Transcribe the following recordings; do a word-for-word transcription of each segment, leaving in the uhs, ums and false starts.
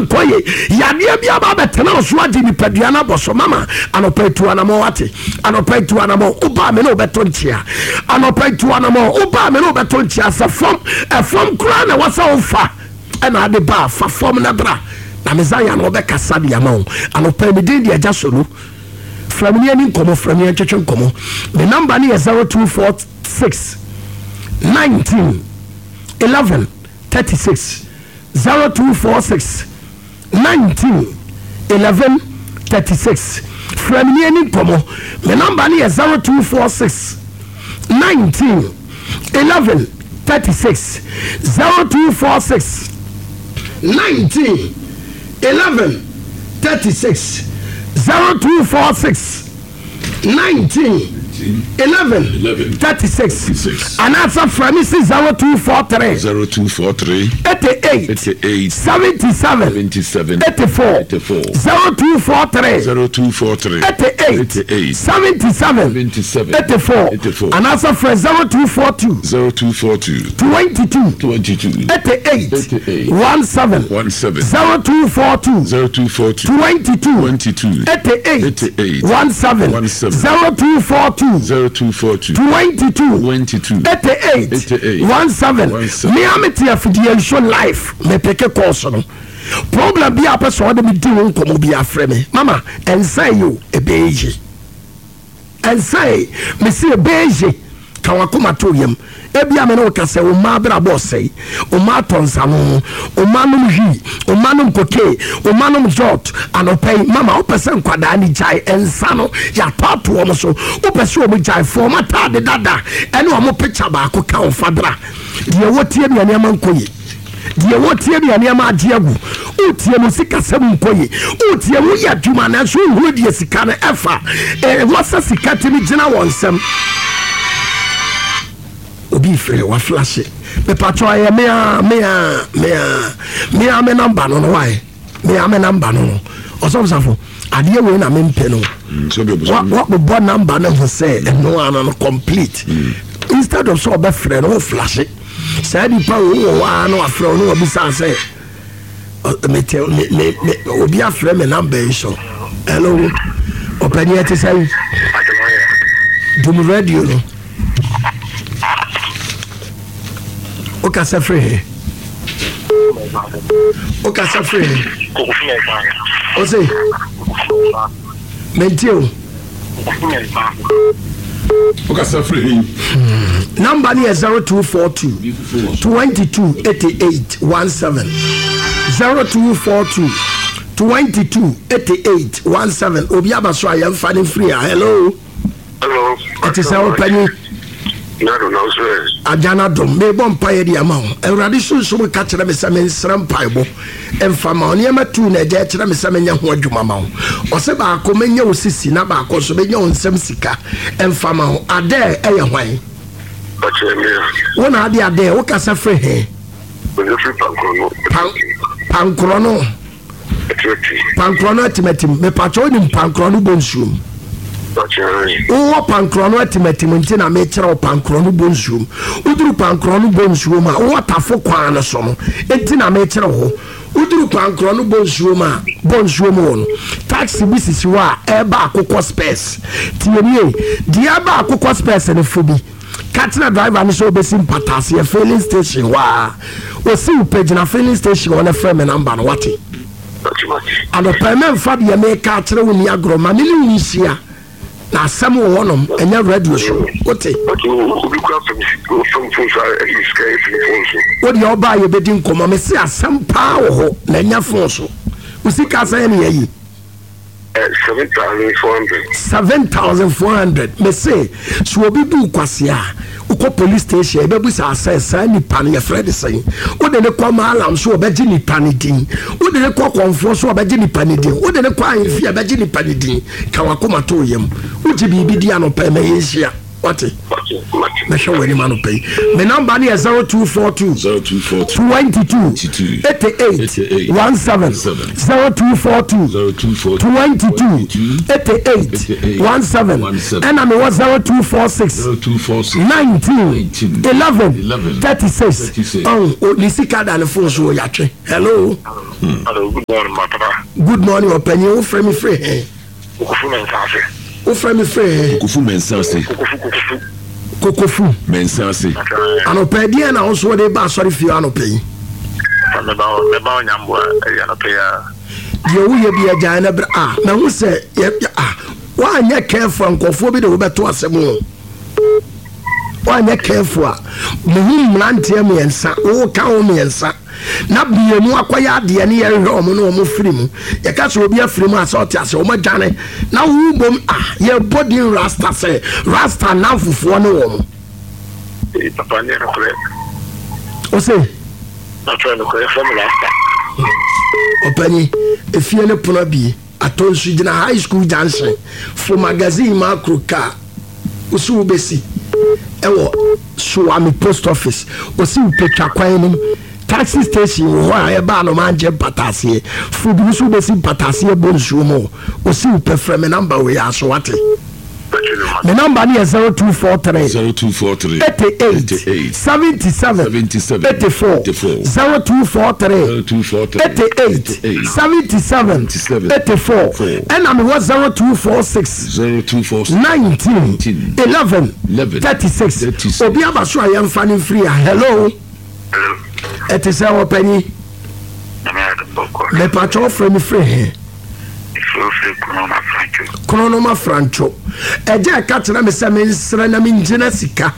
Nneɛma nkɔ ye. Yadeɛ bi aba abɛtena wo so agye nipadua no abɔ so. Mama, anɔpa tu anamɔ, wate? Anɔpa tu anamɔ, wobaa me ne wobɛto nkyea. Anɔpa tu anamɔ, wobaa me ne wobɛto nkyea. Sɛ fam ɛfam koraa na ɛwɔ sɛ wofa ɛna ade ba, fa fam na bra na Mesaia no wɔbɛkasa de ama wo. Anɔpa, me din de Agya Solo. Frɛ me ne ani nkɔmmɔ, frɛ me ntwetwe nkɔmmɔ. Me number no yɛ zero two four six nineteen eleven thirty-six, zero two four six nineteen eleven thirty-six. Frɛ me ne ani nkɔmmɔ. Me number no yɛ zero two four six nineteen eleven thirty-six, zero two four six nineteen eleven thirty-six, zero two four six nineteen eleven thirty-six. thirty-six. Anaasɛ frɛ me si zero two four three zero two four three eighty-eight eighty-eight seventy-seven seventy-seven eighty-four. eighty-four. zero two four three zero two four three eighty-eight eighty-eight seventy-seven seventy-seven eighty-four. eighty-four. Anaasɛ frɛ zero two four two zero two four two twenty-two twenty-two eighty-eight eighty-eight seventeen seventeen zero two four two zero two four two twenty-two twenty-two eighty-eight eighty-eight seventeen seventeen zero two four two zero two four two twenty-two twenty-two eighty-eight eighty-eight seventeen. seventeen. Mea mete afidie nso live, mepeke calls no. Problem bi a pɛ sɛ ɔde me di wo nkɔmmɔ bi, afrɛ me. Mama, ɛnsa yi o, ɛbɛyɛ ye. Ɛnsa yi, mesi ɛbɛyɛ ye. Ka wakoma to yam. Ebia me ne wo ka sɛ wo mma abrabɔ ɔsɛe, wo mma atɔ nsano, wo mma nom hwii, wo mma nom koke, wo mma nom jot. Anɔpɛ yi, mama, wopɛ sɛ nkwadaa ne gyae ɛnsa no, yɛatɔ ato wɔn so, wopɛ sɛ wɔn gyae fo wɔn ataade dada ɛne wɔn picture baako ka wɔn fa bra. Deɛ wɔtie nea nneɛma nkɔ yie, deɛ wɔtie nea nneɛma agye agu, wotie mu sikasɛm nkɔ yie, wotie mu yɛ adwuma nanso wohunu deɛ sika no ɛfa ɛwɔ sɛ sika tumi gyina wɔn nsɛm. Obi frɛ waflashe. Mepatwɛ, ɛyɛ mea mea mea mea me number no no wae, mea me number no no Ɔsɔfosafo, adeɛ wei na mempɛ no. Mm, Wabobɔ number no ho sɛ ɛno ano no complete. Instead of sɛ ɔbɛfrɛ no, wo flashe saa nipa wo wɔ hɔ a na wafrɛ wo na wabisa sɛ mete me me me obi afrɛ me number yi so. Hello, ɔpɛni, ɛte sɛ dum radio no. Wokasa firi he? Wokasa firi he? Ose mentie o. Wokasa firi he? Number no yɛ zero two four two twenty-two eighty-eight seventeen, zero two four two twenty-two eighty-eight seventeen. Obi aba so a yɛmfa ne mfiri a. Hello. Hello. Ɛte sɛ, wopanyi? Nado na nso ɛ. Agyana dom, mebɔ mpaeɛ de ama wo. Awurade sunsum ka kyerɛ me sɛ mensrɛ mpaebɔ ɛmfa ma wo. Nneɛma tu na agya kyerɛ me sɛ menyɛ ho adwuma ma wo. Ɔsɛ baako menyɛ wo sisi na baako nso menyɛ wo nsɛm sika ɛmfa ma wo. Adɛ ɛyɛ hwan? Ɔkyerɛ me a. Wo na ade adɛ wokasa firi he? Ɔnyɛ firi Pankorɔ no. Pan- pankorɔ no. Ɛtiɛti. Pankorɔ no atimatim. Mepakyɛ, wonim pankorɔ no bɔ nsuom? Ɔkyerɛ. Wowɔ pankorɔ no atimatim nti na mekyerɛ wo pankorɔ no bɔ nsuom. Woduru pankorɔ no bɔ nsuom a, wowɔ Tafo kwan no so no nti na mekyerɛ wo hɔ. Woduru pankorɔ no bɔ nsuom a, bɔ nsuom wɔ no, taxi bi sisi hɔ a ɛba Akokɔ Spurs. Tie nie, deɛ ɛba Akokɔ Spurs no, fo bi ka kyerɛ driver no sɛ wobɛsi Mpataaseɛ filling station hɔ a ɔsi wo pɛ. Gyina filling station hɔ no, frɛ me number no, wate? Anɔpɛ mɛmfa deɛ meka akyerɛ wo ni agorɔ. Ma me ne wo nhyia na asɛm wɔ hɔnom, ɛnyɛ radio so, wote? Obi kura fam fam phone so a ɛyi sika efiri phone so. Wo deɛ, ɔbaa yɛbɛdi nkɔmmɔ. Me se asɛm paa wɔ hɔ na ɛnyɛ phone so. Wo sika sɛn ne yɛyi? Seven thousand four hundred. Seven thousand four hundred. Me se sɛ obi bu kwase a, wokɔ police station, ɛbɛbu sɛ asɛ saa nipa no yɛfrɛ de sɛn. Wode ne kɔ maalam so, wɔbɛgye nipa no din. Wode ne kɔ kɔnfoɔ so, wɔbɛgye nipa no din. Wode ne kɔ ahemfie, ɛbɛgye nipa no din. Ka wakoma to yam. Wogye biribi di anɔpɛ ma yɛnhyia, Wate? Mɛhwɛ w'anim anɔpa yi. Me number ne yɛ zero two four two zero two four two twenty two eighty eight one seven zero two four two zero two four two twenty two eighty eight one seven ɛna mewɔ zero two four six zero two four six nineteen eleven eleven thirty six thirty six. Ɔn ne sika da ne phone so wɔ yatwe. Hello. Hello, good morning, my papa. Good morning, ɔpanyin. Wofrɛ me firi hɛn? Kokofu Mɛnsa ase. Wofrɛ me firi hɛn? Kokofu Mɛnsa ase. Kokofu, Kokofu. Kokofu. Mɛnsa ase. Anɔpɛ deɛ na wo so wɔde ba asɔre fie anɔpɛ yi? Mɛba mɛba onyamboa ɛyɛ anɔpɛ yi a. Deɛ woyɛ bi agyae no berɛ a mahu sɛ yɛ a woanyɛ careful a, nkɔfoɔ bi de wobɛto asɛm o. Woanyɛ careful a, mehu mmeranteɛ mmiɛnsa, woka wo mmiɛnsa na mmienu akɔyɛ adeɛ ne yɛhwɛ ɔmo ne ɔmo firi mu. Yɛka sɛ obi afiri mu a, sɛ ɔte ase, ɔmo adwane na wo bom a yɛbɔ din Rasta sɛ Rasta namfofoɔ ne wɔ mo. Ee, papa, nyɛ nokorɛ. Wo se? Natwerɛ nokorɛ, yɛfrɛ me Rasta. Ɔpanyi, efie ne pono abie atɔ nso gyina High School Junction fo Magazine Macro car wosi wobɛsi ɛwɔ Suame Post Office. Osi wopɛtwa kwan no mu, taxi station wɔ hɔ a ɛba Anomangye mpataaseɛ fo bi nso wobɛsi mpataaseɛ bɔ nsuo mu. Osi wopɛ, frɛ me number wei aso, wate? Me number no yɛ zero two four three zero two four three eighty-eight eighty-eight seventy-seven seventy-seven eighty-four eighty-four zero two four three zero two four three eighty-eight seventy-seven seventy-seven eighty-four. four. Ɛna mewɔ zero two four six zero two four six nineteen nineteen eleven eleven thirty-six. thirty-six. Obi aba so a yɛmfa no mfiri a. Hello. Hello. Ɛte sɛ wɔpanyi? Nyame adom, bɔkɔ. Mepatwɛ, wofrɛ me firi he? Efirofiri Kunoma Franco. Kronoma Franco. Ɛgya ɛka kyerɛ me sɛ mensrɛ na mengyina sika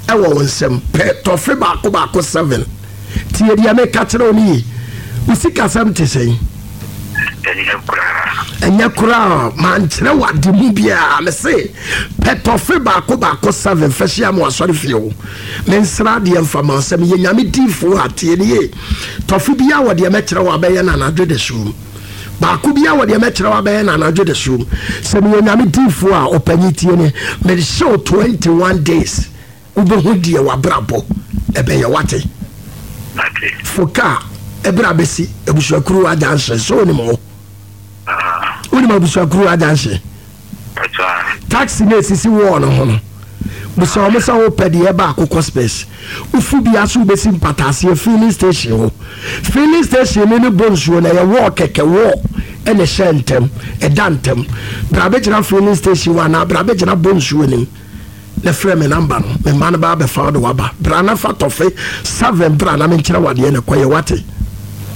ɛwɔ wo nsɛm pɛ tɔfe baako baako seven. Tie deɛ meka kyerɛ wo no yi, wo sikasɛm te sɛn? Ɛnyɛ koraa. Ɛnyɛ koraa. Mankyerɛ wade mu biaa. Me se pɛ tɔfe baako baako seven fɛ hyia ma wasɔre fie wo mensra adeɛ mfa ma sɛ meyɛ Nyame diifoɔ a. Tie ne ye, tɔfe biaa wɔ deɛ mɛkyerɛ wo abɛyɛ no anadwo de som baako biaa wɔ deɛ mɛkyerɛ wo abɛyɛ no anadwo de som. Sɛ meyɛ Nyame diifoɔ a, ɔpanyi, tie ne, mehyɛ wo twenty-one days, wobɛhu deɛ wabrabɔ ɛbɛyɛ, wate? Mate. Fo kaa ɛberɛ a bɛsi Abusuakuru agyanhye sɛ wonim hɔ. Ah, Wonim Abusuakuru agyanhye? Pata. Taxi na esisi wɔɔ no ho no, busa wɔn sɛ wopɛ deɛ ɛba Akokɔ Space. Wofu bi so wobɛsi mpataaseɛ filling station hɔ. Filling station no ne bɔ nsuo no ɛyɛ wɔɔ kɛkɛ, wɔɔ ɛna ɛhyɛ ntɛm ɛda ntɛm. Bra bɛgyina filling station hɔ anaa bra bɛgyina bɔ nsuo nim na frɛ me number no. Me mma no ba abɛfa wo de waba. Bra na fa tɔfe seven bra na menkyerɛ wadeɛ ne kɔyɛ, wate?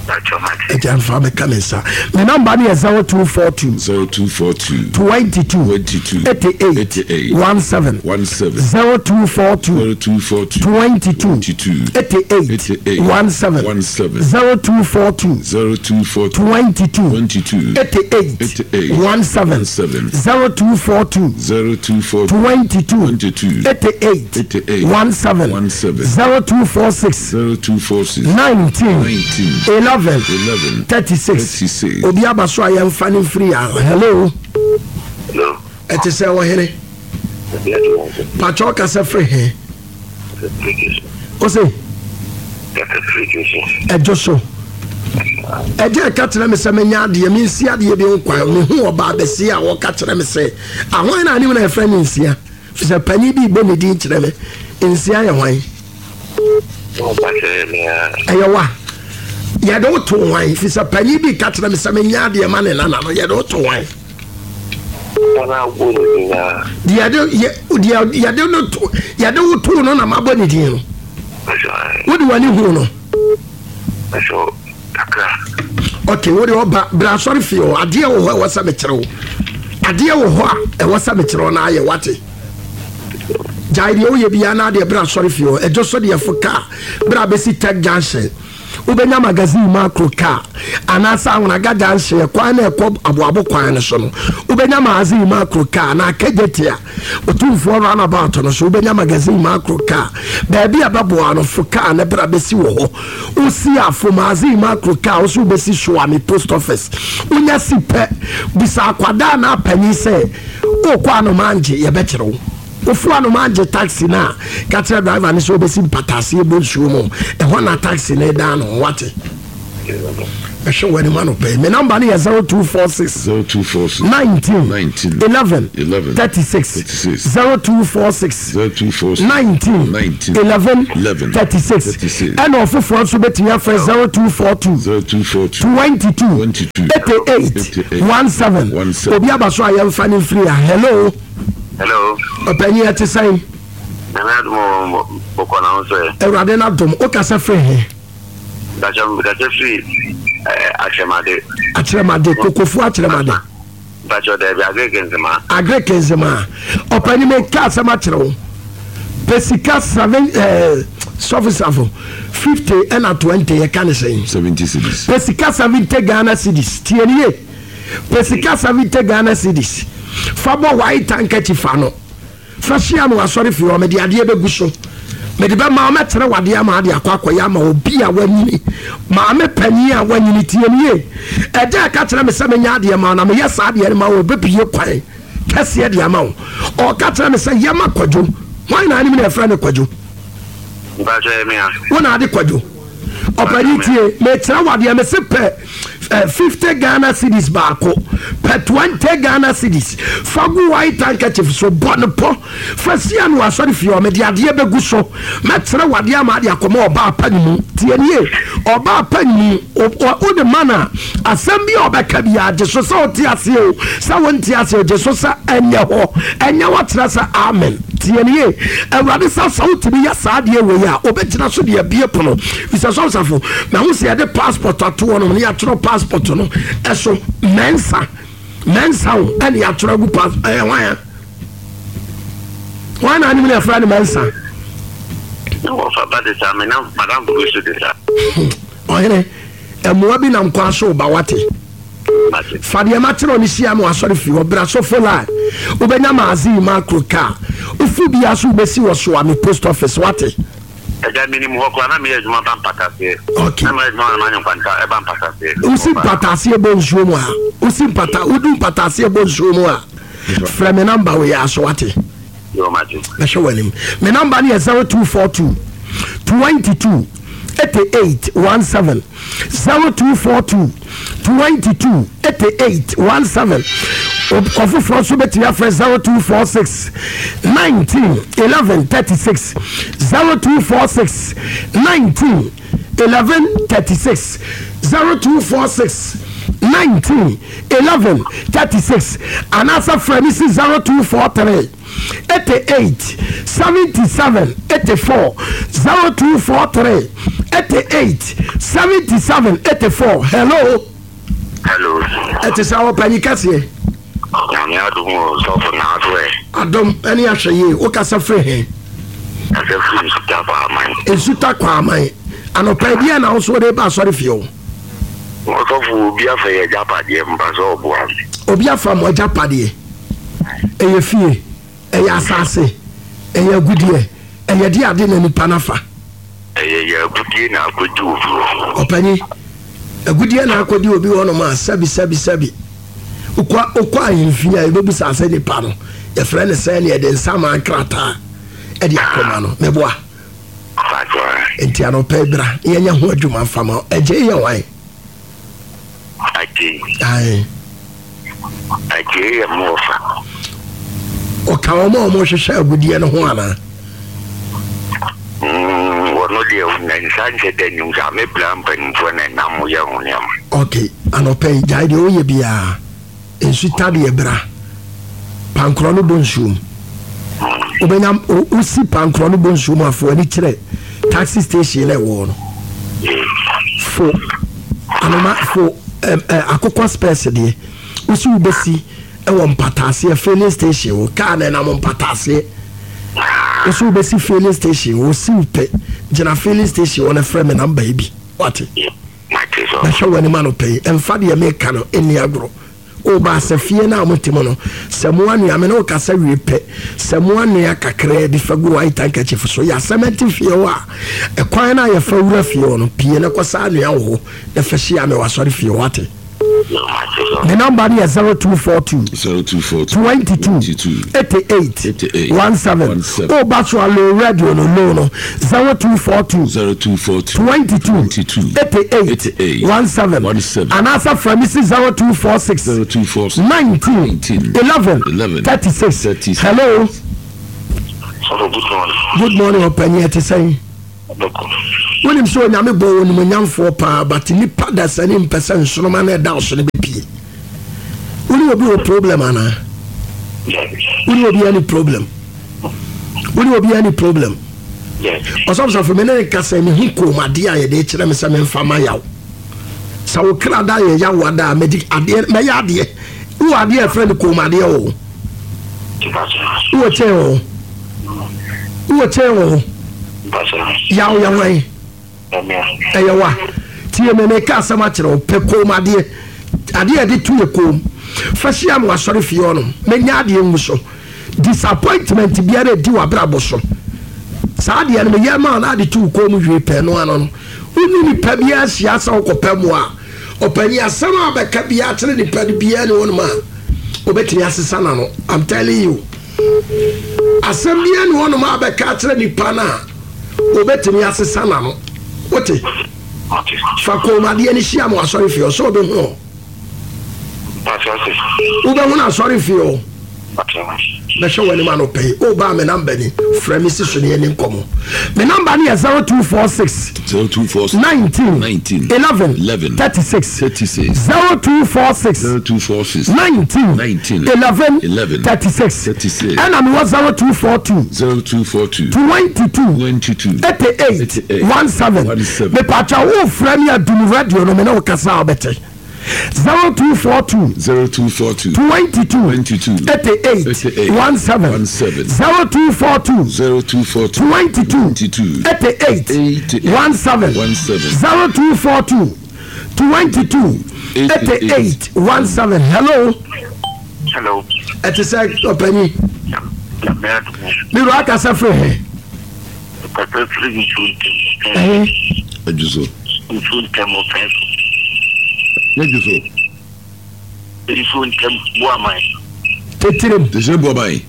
Pata, mate. Agya mfa mɛka me nsa. Me number no yɛ zero two four two zero two four two twenty-two twenty-two eighty-eight eighty-eight seventeen one seven zero two four two zero two four two twenty-two twenty-two eighty-eight eighty-eight seventeen one seven zero two four two zero two four two twenty-two twenty-two eighty-eight eighty-eight seventeen seven zero two four two zero two four two twenty-two twenty-two eighty-eight eighty-eight seventeen one seven zero two four six zero two four six nineteen nineteen eleven eleven thirty-six. thirty-six. Obi aba so a yɛmfa no mfiri a. Hello. Hello. Ɛte sɛ wɔhene? Ebi adi wɔn so. Patwɛ, ɔkasa firi he? Firi Wo se? Kasa firi Josi. Ɛdwo so. Ɛgya ɛka kyerɛ me sɛ menya adeɛ, mensi adeɛ bi ho kwan. Mehu ɔbaa bɛsi a wɔka kyerɛ me sɛ ahwan na anim na yɛfrɛ ne nsia fi sɛ panyin bi bɔ ne din kyerɛ me. Nsia yɛ hwan? Ɔba me a. Ɛyɛ wa yɛde wo to hwan? Fi sɛ panyin bi ka kyerɛ me sɛ menya adeɛ ma ne nana no, yɛde wo to hwan? Papa na abɔ ne din na. Deɛ yɛde yɛ- deɛ yɛde no to, yɛde wo to no na mabɔ ne din no. Pata. Wode w'ani hu no? Pata kakra. Ok, wode ɔba bra asɔre fie hɔ. Adeɛ wɔ hɔ a ɛwɔ sɛ mekyerɛ wo, adeɛ wɔ hɔ a ɛwɔ sɛ mekyerɛ wo na ayɛ, wate? Gyae deɛ woyɛ biara na adeɛ bra asɔre fie hɔ. Ɛdwo so deɛ, fo kaa bra bɛsi Tech Junction, wobɛnya Magazine Macro car anaasɛ Ahonaga Junction ɛkwan na ɛkɔ Aboabo kwan no so no, wobɛnya Magazine Macro car na Akagye a Otumfoɔ roundabout no so, wobɛnya Magazine Macro car. Baabi a bɛboa no, fo car ne bra bɛsi wɔ hɔ. Wosi afo Magazine Macro car wo so wobɛsi Soame Post Office. Wonya si pɛ, bisa akwadaa na apanyin sɛ wokɔ Anomangye, yɛbɛkyerɛ wo. Wofu anoma agye taxi no a, ka kyerɛ driver no sɛ wobɛsi Mpataaseɛ bɔ nsuo mu. Ɛhɔ na taxi no da no, wate? Ɛhwɛ w'anim anɔpɛ. Me number no yɛ zero two four six zero two four six nineteen nineteen eleven eleven thirty-six. thirty-six. zero two four six zero two four six nineteen nineteen eleven eleven thirty-six. thirty-six. Ɛna ɔfoforɔ nso bɛtumi afrɛ zero two four two zero two four two twenty-two twenty-two eighty-eight eighty-eight seventeen. seventeen. Obi aba so a yɛmfa no mfiri a. Hello. Hello. Ɔpanyin, ɛte sɛn? Nyame adom wɔ bɔkɔ na ho sɛ. Awurade no adom. Wokasa firi he? Mpakyɛ, mekasa firi Akyerɛmade. Akyerɛmade, Kokofu Akyerɛmade? Mpakyɛ, daabi, Agric Nzema. Agric Nzema. Ɔpanyin, meka asɛm akyerɛ wo. Pɛ sika seven ɛɛ sɔfosafo fifty ɛna twenty, yɛka ne sɛn? seventy cedis. Pɛ sika seventy Ghana cedis. Tie nie, pɛ sika seventy Ghana cedis, fa bɔ white handkerchief ano, fa hyia no asɔre fie hɔ. Mede adeɛ bɛgu so, mede bɛma wo, mɛkyerɛ wadeɛ ama ade akɔ akɔyɛ ama obi a wanyini, maame panyin a wanyini. Tie nie, ɛgya ɛka kyerɛ me sɛ menya adeɛ ma wo na meyɛ saa adeɛ no ma wo, bɛpie kwan kɛseɛ de ama wo. Ɔka kyerɛ me sɛ yɛma Kwadwo. Hwan na anim na ɛfrɛ no Kwadwo? Mpakyɛ, me a. Wo na ade Kwadwo. Ɔpani, tie, mekyerɛ wadeɛ. Mese pɛ eh, fifty Ghana cedis baako, pɛ twenty Ghana cedis, fa gu white handkerchief so, bɔ ne pɔ, fa sia no asɔre fie hɔ. Mede adeɛ bɛgu so, mɛkyerɛ wadeɛ ama ade akɔma ɔbaa pa ne mu. Tie nie, ɔbaa pa ne mu, wode ma no a, asɛm bi a ɔbɛka bi agye so sɛ wote aseɛ o, sɛ wonte aseɛ o, gye so sɛ ɛnyɛ hɔ, ɛnyɛ hɔ, kyerɛ sɛ amen. Tie nie, Awurade sɛ sɛ wotumi yɛ saa adeɛ wei a, wobɛgyina so de abie pono fisɛ sɔmsafo. Mahu sɛ yɛde passport ato hɔ nom ne yɛatwerɛ passport no ɛso mɛnsa mɛnsa wo, ɛne yɛatwerɛ agu pass. Ɛyɛ hwan a, hwan na anim ne yɛfrɛ no mɛnsa? Na wɔfa ba de saa, me na madam bi so de saa. Ɔhene, ɛmmoa bi nam kwan so ba, wate? Mate. Fa deɛ makyerɛ no hyia ma wasɔre fie hɔ. Bra sɔfo line, wobɛnya maaze yi macro car wofu bia so, wobɛsi wɔ Soame post office, wate? Ɛgya, menim hɔ koraa na meyɛ adwuma ba Mpataseɛ. Okay. Na meyɛ adwuma na manyɛ nkwanta ɛba Mpataseɛ. Wosi Mpataaseɛ bɔ nsuo mu a, wosi mpata, wodu Mpataaseɛ bɔ nsuo mu a, frɛ me number wɔ yɛ aso, wate? Yo, mate. Bɛhwɛ w'anim. Me number no yɛ zero two four two twenty-two eighty-eight seventeen, zero two four two twenty-two eighty-eight seventeen. Ɔfoforɔ nso bɛtumi afrɛ zero two four six nineteen eleven thirty-six, zero two four six nineteen eleven thirty-six, zero two four six nineteen eleven thirty-six, anaasɛ frɛ me si zero two four three eighty-eight seventy-seven eighty-four, zero two four three eighty-eight seventy-seven eighty-four. Hello. Hello. Ɛte sɛ ɔpanyin kɛseɛ? Nyame adom o, sɔfo, na aso ɛ? Adom ɛne ahwɛ yie. Wokasa firi he? Asɛ firi Nsuta Kwaaman. Nsuta Kwaaman. Anɔpa bi a na wo so wode ba asɔre fie o? Ɔsɔfo, obi afa yɛ agyapadeɛ mpa sɛ ɔboa me. Obi afa mo agyapadeɛ. Ɛyɛ fie, ɛyɛ asase, ɛyɛ agudeɛ, ɛyɛ de ade na nipa nafa? Ɛyɛ yɛ agudie na akɔdi obi hɔ. Ɔpanyin, agudeɛ na akɔdi obi hɔ nom a, sɛbi sɛbi sɛbi, wokɔ wokɔ ahemfie a, yɛbɛbusa sɛ nipa no yɛfrɛ no sɛ ne yɛde nsa ma nkrataa ɛde akɔma no, mɛboa. Fatɔ. Nti anɔpɛ bra na yɛnyɛ ho adwuma mfama. Ɛgye yɛ wan? Agye. Ae. Agye yɛ mmɔɔfa. Ɔka wɔn a wɔhwehwɛ agudeɛ no ho anaa? Wɔno deɛ, na nsa nhyɛ da nim saa. Mebra mpanimfoɔ na ɛnam yɛ ho nneɛma. Ok, anɔpɛ yi, gyae deɛ woyɛ biara. Nsu tadeɛ, bra pankorɔ no bɔ nsuom. Wobɛnya wo- wosi pankorɔ no bɔ nsuom afo ani kyerɛ taxi station na ɛwɔ no. Fo anoma fo ɛm, ɛ, akokɔ spɛs deɛ wosi wobɛsi ɛwɔ Mpataaseɛ filling station wo kaa na ɛnam Mpataaseɛ, wosi wobɛsi filling station, wosi wo pɛ gyina filling station wɔ no, frɛ me number yi bi, wate? Mate, sɔ. Bɛhwɛ w'anim anɔpɛ yi. Ɛmfa deɛ meka no ɛnni agorɔ. Woba sɛ fie no a mote mu no, sɛ mo anua me ne wokasa wie pɛ, sɛ mo anua kakraa bi, fa gu white handkerchief so. Yɛ asɛm ɛte fie hɔ a, ɛkwan no a yɛfa wura fie hɔ no, pie no kɔ saa anua wɔ hɔ na fa hyia me wɔ asɔre fie hɔ, ate? Ne number no yɛ zero two four two zero two four two twenty two twenty-two eighty eight eighty-eight one seven. seven. Woba so a low radio no low no zero two four two zero two four two twenty two twenty-two eighty eight eighty-eight one seven one seven. Anaasɛ frɛ me si zero two four six zero two four six nineteen nineteen eleven eleven thirty six. thirty-six. Hello, Sɔfo, good morning. good morning, ɔpanyin. Ɛte sɛn? Bɛkɔ. Wonim sɛ Onyame bɔ wɔ nimonyamfoɔ paa, but nipa da sani mpɛ sɛ nsoroma no ɛda wo so no bɛpie. Wone obi wɔ problem anaa? Wone obi any problem? Wone obi any problem? Yes. Ɔsɔfosɔfo, me ne ne kasa, mehu kɔn adeɛ a yɛde kyerɛ me sɛ memfa ma yaw sɛ wo kra da yɛ yaw ada a mɛdi adeɛ, mɛyɛ adeɛ. Wowɔ adeɛ a ɛfrɛ no kɔn adeɛ o. Wowɔ kyɛn o, wowɔ kyɛn o. Yaw yɛ hwan? Ɛyɛ wa tie me, meka asɛm akyerɛ wo. Pɛ kɔn adeɛ, adeɛ a yɛde to yɛ kɔn fa hyia me wasɔre fie hɔnom, mɛnya adeɛ ngu so. Disappointment biara ɛdi w'abrabɔ so, saa adeɛ no meyɛ ma na ade to wo kɔn mu hwee pɛ no ano no, wone nipa biara hyia sɛ wokɔpɛ mu a, ɔpanyi, asɛm a bɛka biara kyerɛ nipa no biara ne wɔnom a wobɛtumi asesa na no. I'm telling you, asɛm biara ne wɔnom a bɛka kyerɛ nipa no a wobɛtumi asesa na no. Wote? Fa kɔnmadeɛ no hyia ma wasɔre fie hɔ sɛ wobɛhu hɔ, wobɛhu no asɔre fie hɔ. Bɛhwɛ w'anim anɔpɛ yi, wobaa me number ni, frɛ me si so ne yɛni nkɔmmɔ. Me number no yɛ zero two four six zero two four six nineteen nineteen eleven eleven thirty-six. thirty-six. zero two four six zero two four six nineteen nineteen eleven eleven thirty-six. thirty-six. Ɛna mewɔ zero two four two zero two four two twenty-two twenty-two eighty-eight eighty-eight seventeen. seventeen. Mepatwa, wofrɛ me adum radio no, me ne wo kasa a wobɛte. zero two four two zero two four two twenty-two twenty-two eighty-eight eighty-eight seventeen. seventeen. zero two four two zero two four two twenty-two twenty-two eighty-eight eighty-eight seventeen. seventeen. zero two four two twenty-two eighty-eight seventeen. Hello. Hello. Ɛte sɛ, ɔpanyi? Nyame adom. Mewura, akasa firi he? Papa, firi nsuo ntɛm. Ɛhe? Adwo so. Nsuo ntɛm ɔpɛ so. Nyɛ dwo so. Nsuo ntɛm Boaman. Tetirem. Tɛsɛ Boaman.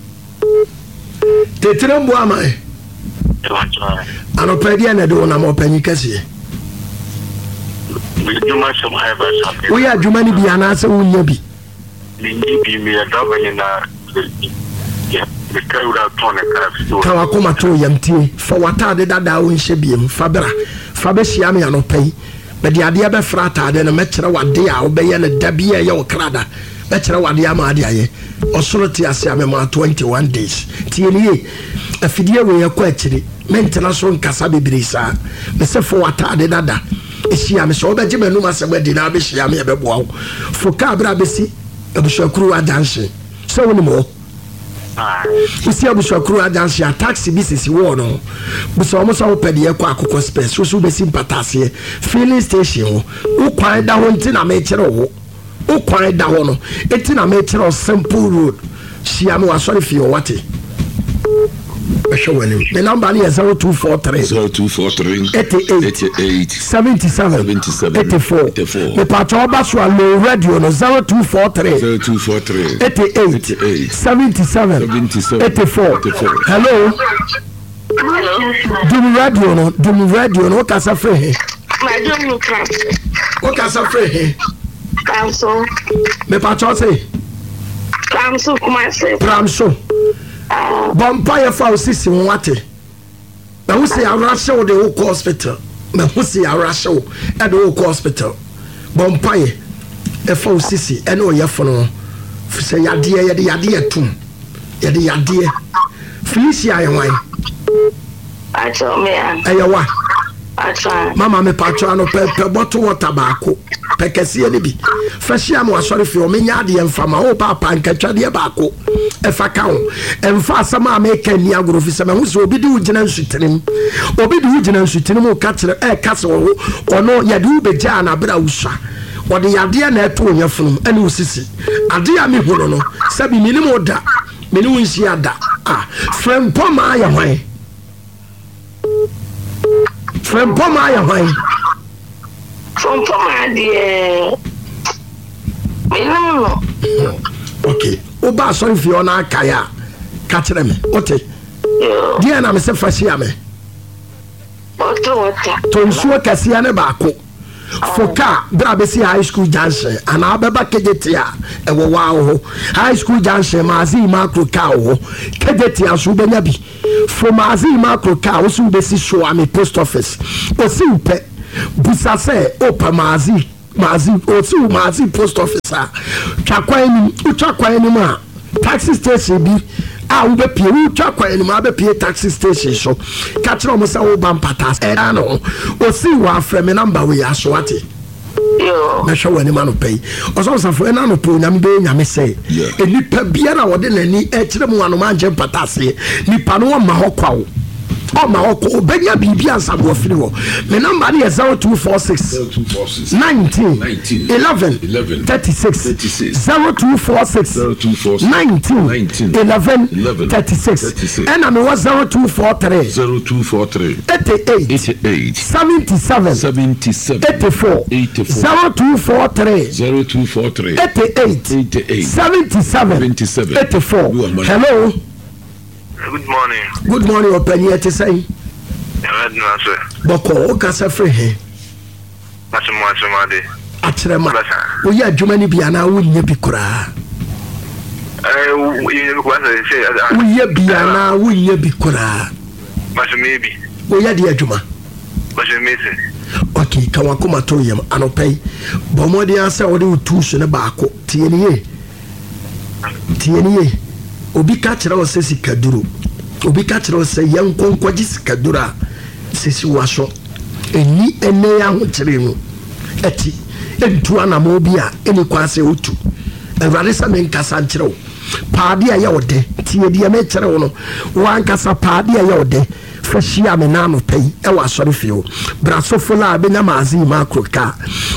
Tetirem Boaman. Anɔpɛ deɛ na ɛde wo nam, ɔpanyi kɛseɛ? Medwuma sɛm ayɛ ba sa. Woyɛ adwuma no bi anaasɛ wonya bi? Menni bi, meyɛ driver nyinaa. Meka wura tɔn ne kaa fi. Ka wakoma to yam. Tie, fa w'ataade dadaa wo nhyɛ biem, fa bra, fa bɛhyia me anɔpa yi. Mede adeɛ bɛfra ataade no, mɛkyerɛ w'ade a wobɛyɛ no da bi a ɛyɛ wo krada, bɛkyerɛ w'ade ama ade ayɛ. Ɔsoro te ase a, mema twenty-one days. Tie ne ye, afidie wei ɛkɔ akyiri, mentena so nkasa bebree saa. Mesɛ fa w'ataade dada ɛhyia me. Sɛ wobɛgye m'anum asɛm adi na wabɛhyia me, ɛbɛboa wo. Fo kaa berɛ a bɛsi Abusuakuru adanhye sɛ wonim hɔ, wosi Abusuakuru adanhye a, taxi bi sisi wɔɔ no, bisa wɔn sɛ wopɛ deɛ ɛkɔ Akokɔ Spurs. Woso wobɛsi Mpataaseɛ filling station hɔ. Wo kwan da hɔ nti na mekyerɛ wo. Wo kwan da hɔ no eti na mekyerɛ wo. Simple road. Hyia me wasɔre fie hɔ, wate? Bɛhwɛ w'anim. Me number no yɛ zero two four three zero two four three eighty-eight eighty-eight seventy-seven seventy-seven eighty-four. eighty-four. Mepatwa, ɔba so a, low radio no zero two four three zero two four three eighty-eight eighty-eight seventy-seven seventy-seven eighty-four. eighty-four. Hello, dum radio no, dum radio no. Wokasa firi he? Madam Luka. Wokasa firi he? Pramso. Mepatwa, se? Pramso, Kumasi. Pram so. Bɔ mpa yɛ fa wo sisi ho, wate? Mahu sɛ yɛawora wo de wokɔ hospital. Mahu sɛ yɛawora wo ɛde wokɔ hospital. Bɔ mpa yɛ ɛfa wo sisi ɛne ɔyɛfo no ho sɛ yadeɛ, yɛde yadeɛ tom, yɛde yadeɛ. Felicia yɛ hwan? Acho me a. Ɛyɛ wa? Acho. Mama, mepatwa ano pɛ pɛ bottle water baako pɛ kɛseɛ no bi fa hyia me wasɔre fie. Ɔmenya adeɛ mfa ma wo paapa nkatwadeɛ baako ɛfa ka ho. Ɛmfa asɛm a meka nni agorɔ, fi sɛ mahu sɛ obi de wo gyina nsutirim, obi de wo gyina nsutirim, woka kyerɛ ɛka sɛ ɔwo ɔno yɛde wo bɛgyaa no aberɛ a wosua. Ɔde yadeɛ na ɛto wo yɛfonom ɛne wo sisi. Adeɛ a mehu no no sɛbi menim wo da, mene wo nhyia da a. Frɛmpɔ maa yɛ hwan? Frɛmpɔ maa yɛ hwan? Frɛmpɔ maa deɛ. Menim no. Ok, woba asɔre fie hɔ na akae a, ka kyerɛ me. Wote? Yoo. Deɛ na mesɛ fa hyia me. Bottle water. Tɔ nsuo kɛseɛ ne baako. Fo kaa berɛ a bɛsi High School Junction anaa wobɛba Kejetia a ɛwɔ waa wo hɔ. High School Junction, Maazii Makro kaa wɔ hɔ. Kejetia nso wobɛnya bi. Fo Maazii Makro kaa wo so wobɛsi Soame Post Office. Ɔsi wo pɛ, bisa sɛ wopɛ Maazii Maazii, ɔsi wo Maazii Post Office a, twa kwan no mu. Wotwa kwan no mu a, taxi station bi a wobɛpie, wotwa kwan no mu a wobɛpie taxi station so. Ka kyerɛ wɔn sɛ woba Mpata ɛdan no ho. Ɔsi wo a, frɛ me number wei aso wate. Yoo. Mɛhwɛ w'anim anɔpa yi. Ɔsɔfo Safo, ɛna anɔpa Onyame bɛyɛ Nyame sɛ Yeah. nipa biara a ɔde n'ani ɛkyerɛ mu anoma angye mpata aseɛ, nipa no ɔmma hɔ kwa o. Ɔmma hɔ kwa, ɔbɛnya biribi ansa na wafiri hɔ. Me number no yɛ zero two four six Zero two four six nineteen nineteen eleven eleven thirty six thirty six zero two four six zero two four six nineteen nineteen eleven eleven thirty six thirty six ɛna mewɔ zero two four three zero two four three eighty eight eighty eight seventy seven seventy seven eighty four eighty four zero two four three zero two four three eighty eight eighty eight seventy seven seventy seven eighty four. You are money. Hello, Good morning. good morning. Ɔpanyin, ɛte sɛn? Nyame adwuma sɛ. Bɔkɔ, wokasa firi he? Asemu asemade. Akyerɛ ma Basa. woyɛ adwuma no bi anaa wonyɛ bi koraa? Eh, wo yɛ ko sɛ sɛ. Woyɛ bi anaa wonyɛ bi koraa? Basa me bi. Woyɛ deɛ adwuma? Basa me si. Ok, ka wakoma to yam. Anɔpa yi, bɔ mmɔden ara sɛ wode wo tools no baako. Tie ne yie, tie ne yie. Obi ka kyerɛ wo sɛ sikaduro, obi ka kyerɛ wo sɛ yɛnkɔ nkɔgye sikaduro a, sisi waso ɛni ɛnɛ yɛ ahokyere mu ɛti ɛntu anammɔ bi a ɛni kwan sɛ wotu. Awurade sɛ menkasa nkyerɛ wo paade a ɛyɛ wo dɛ. Tie deɛ mekyerɛ wo no, wankasa paade a ɛyɛ wo dɛ, fa hyia me na anɔpa yi ɛwɔ asɔre fie hɔ. Brasofo la a bɛnya Maase yi maakoro kaa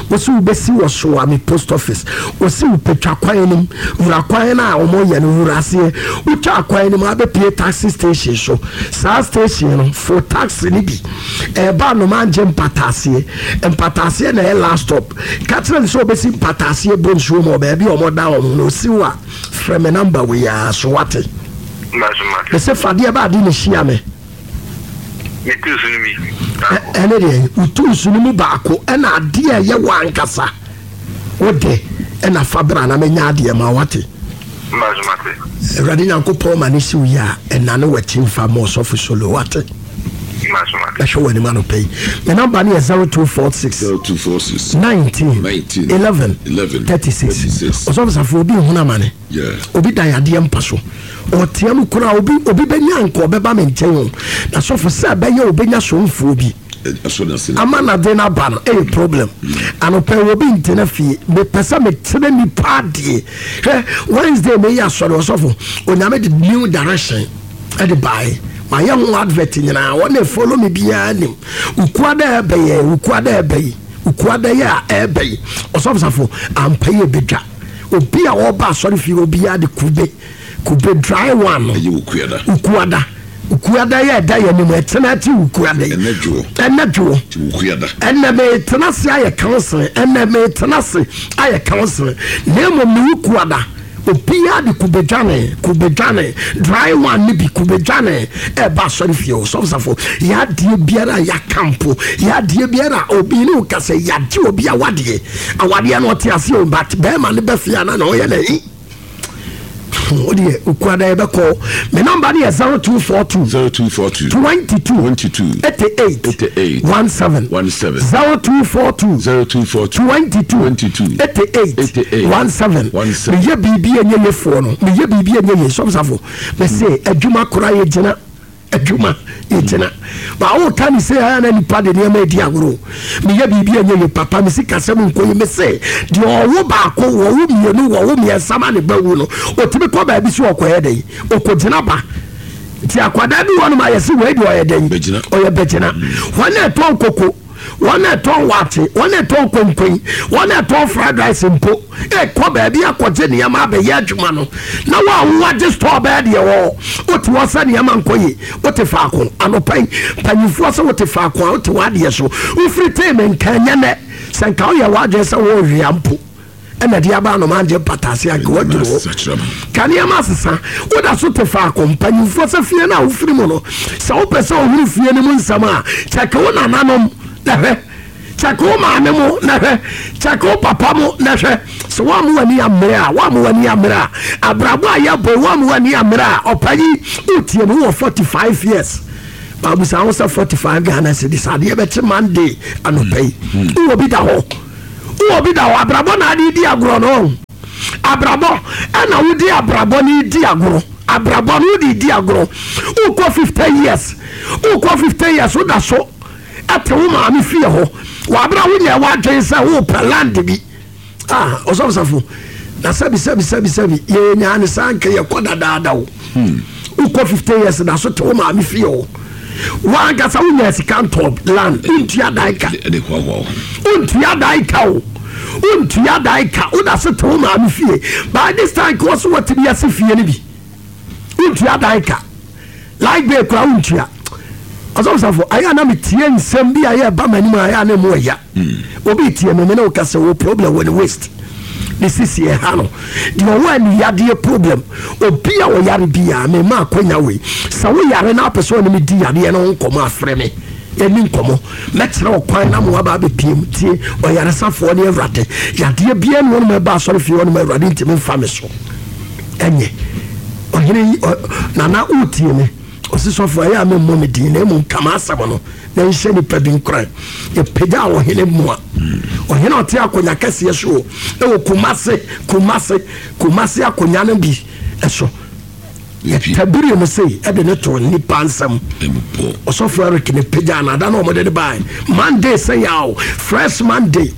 wosi wobɛsi wɔ Soame Post Office. Wosi wo petwa kwan no mu, wura kwan no a wɔyɛ no, wura aseɛ. Wotwa kwan no mu abɛpie taxi station so. Saa station no, fo taxi no bi ɛɛba Anomangye Mpataaseɛ. Mpataaseɛ na ɛyɛ last stop. Ka kyerɛ no sɛ wobɛsi Mpataaseɛ bɔ nsuo mu wɔ baabi a wɔda wɔn no. Osi wo a, frɛ me number wei ara so wate. Basa mate. Ɛsɛ fadeɛ ba ade ne hyia me. Me tu so no bi. Ɛ- ɛne deɛ wotu nsu no mu baako ɛna adeɛ a ɛyɛ wɔ ankasa wode ɛna fa bra na menya adeɛ ma wate. Basa mate. Awurade Nyankopɔn ma ne siw yi a ɛna ne wakyi mfa ma Ɔsɔfo Solo wate. Basa mate. Ɛhwɛ wɔ anim anɔpa yi. Me number no yɛ zero two four six zero two four six nineteen nineteen eleven eleven thirty-six. thirty-six. Ɔsɔfo Safo, obi nhunu amane. Yeah. Obi da yadeɛ mpa so, ɔtea mu koraa. Obi obi bɛnya nka ɔbɛba me nkyɛn o, na sɔfo sɛ ɛbɛyɛ obɛnya somfoɔ bi Ɛsɔ na se. Ama nade no aba no ɛyɛ problem. Anɔpɛ wɔ bi ntena fie, mepɛ sɛ mekyerɛ nipa adeɛ. Hwɛ, Wednesday meyɛ asɔre, ɔsɔfo Onyame de new direction ɛde baeɛ. Mayɛ ho advert nyinaa, wɔne follow me biara nim. Ukua dɛ ɛbɛyɛ ukua dɛ ɛbɛyi ukua dɛ yɛ a ɛbɛyi. Ɔsɔfo Safo, ampa yɛ bɛdwa obi a ɔba asɔre fie, obiara de kube kube dry one no. Ɛyɛ okuada. Ukuada, ukuada yɛ ɛda yɛ anim ɛtena akyi ukuada yi. Ɛnɛ dwoɔ. Ɛnɛ dwoɔ. Ti okuada. Ɛnɛ metena ase ayɛ counseling, ɛnɛ metena ase ayɛ counseling, na mmom ne wukuada obiara de kubedwane kubedwane dry one ne bi kubedwane ɛba asɔre fie o. Sɔfosafo, yɛadeɛ biara a yɛaka mpo, yɛadeɛ biara a obi ne wo ka sɛ yɛagye obi awadeɛ, awadeɛ no ɔte ase o, but bɛrima ne bɛfie ana na ɔyɛ n'ahi wodeɛ. Okuada yɛbɛkɔ. Me number no yɛ zero two four two zero two four two twenty-two twenty-two eighty-eight eighty-eight seventeen seventeen zero two four two zero two four two twenty-two twenty-two eighty-eight eighty-eight seventeen. seventeen. Meyɛ biribi a ɛnyɛ yefoɔ no, meyɛ biribi a ɛnyɛ ye. Sɔfosafo, mɛsɛ adwuma koraa yɛgyina, adwuma yɛgyina ba woka ne sɛ ɛyɛ na nipa de nneɛma adi agorɔ. Meyɛ biribi a ɛnyɛ ye papa, mesi kasɛm nkɔ yi. Mesɛ deɛ ɔwo baako, wɔwo mmienu, wɔwo mmiɛnsa ma ne ba wu no, ɔtumi kɔ baabi so ɔkɔyɛ dɛn, ɔkɔgyina ba. Nti akwadaa bi wɔ nom a yɛse wei deɛ ɔyɛ dɛn? Bɛgyina. Ɔyɛ bɛgyina. Wɔn a ɛtɔn koko, wɔn a ɛtɔn waakye, wɔn a ɛtɔn konkoin, wɔn a ɛtɔn fried rice mpo ɛkɔ baabi akɔgye nneɛma abɛyɛ adwuma no. Na wɔn a wɔagye store bɛɛ deɛ wɔ wote hɔ sɛ nneɛma nkɔ yie, wote faako. Anɔpa yi, mpanyinfoɔ sɛ wote faako a wote w'adeɛ so, wofiri tee me nka nyɛ nɛ sɛ nka woyɛ w'adwene sɛ wɔrewia mpo. Ɛna de aba anoma agye mpataase anka waduru hɔ. Ka nneɛma asesa. Woda so te faako. Mpanyimfoɔ sɛ fie no a wofiri mu no, sɛ wopɛ sɛ wohunu fie no mu nsɛm a, kyɛke wo nananom na hwɛ. Kyɛke wo maame mo na hwɛ. Kyɛke wo papa mo na hwɛ. Sɛ woammo w'ani ammere a, woammo w'ani ammere a, abrabɔ a yɛbɔ yi, woammo w'ani ammere a, ɔpanyin, wotie me, wowɔ forty five years. Baabusa ho sɛ forty five Ghana cedis adeɛ bɛkye Monday anɔpa yi. Wowɔ bi da hɔ. Wowɔ bi da hɔ. Abrabɔ na ade di agorɔ no. Abrabɔ ɛna wodi abrabɔ no di agorɔ. Abrabɔ no wodi di agorɔ. Wokɔ fifty years. Wokɔ fifty years woda so ɛte wo maame fie hɔ. Wabra wonyɛ w'adwene sɛ wopɛ land bi. Ah, ɔsɔfosafo. Na sɛbi sɛbi sɛbi sɛbi yɛ nyaa ne saa nka yɛkɔ dadaada o. Wokɔ fifty years da so te wo maame fie hɔ. Wankasa wonya sika ntɔ land, wontua dan ka. Wontua dan ka o. Wontua dan ka. Woda so te wo maame fie. By this time ka wɔ so wɔtumi ase fie no bi. Wontua dan ka. Light bill kora wontua. Ɔsɔfosafo, ayɛ a na metie nsɛm bi a yɛ ba m'anim a ayɛ a na mu ɛya. Obi tie me, me ne wo ka sɛ wɔ problem wɔ ne waist. Ne sisi ɛha no. Deɛ ɔwɔ aniyadeɛ problem. Obi a ɔyare biara, me ma akwanya wei. Sɛ woyare na apɛ sɛ ɔne me di yadeɛ no ho nkɔmmɔ afrɛ me. Ɛni nkɔmmɔ. Mɛkyerɛ wo kwan na mo aba abɛpiem. Tie, ɔyaresafoɔ ne Awurade. Yadeɛ biara ne wɔnom ɛba asɔre fie hɔnom Awurade ntumi mfa me so. Ɛnyɛ. Ɔhene yi, Nana wotie me. Ɔsi sɔfo ɛyɛ a memmɔ me din na mmom ka m'asɛm no na nhyɛ nipa bi nkuran. Yɛpagya ɔhene mmoa. Ɔhene a ɔte akonnwa kɛseɛ so o, ɛwɔ Kumase, Kumase, Kumase akonnwa no bi ɛso. Yɛtabiri no sei ɛde ne to nipa nsɛm. Ɔsɔfo Eric ne pagya no ada na ɔmode ne bae. Monday sɛ yaw, fresh Monday.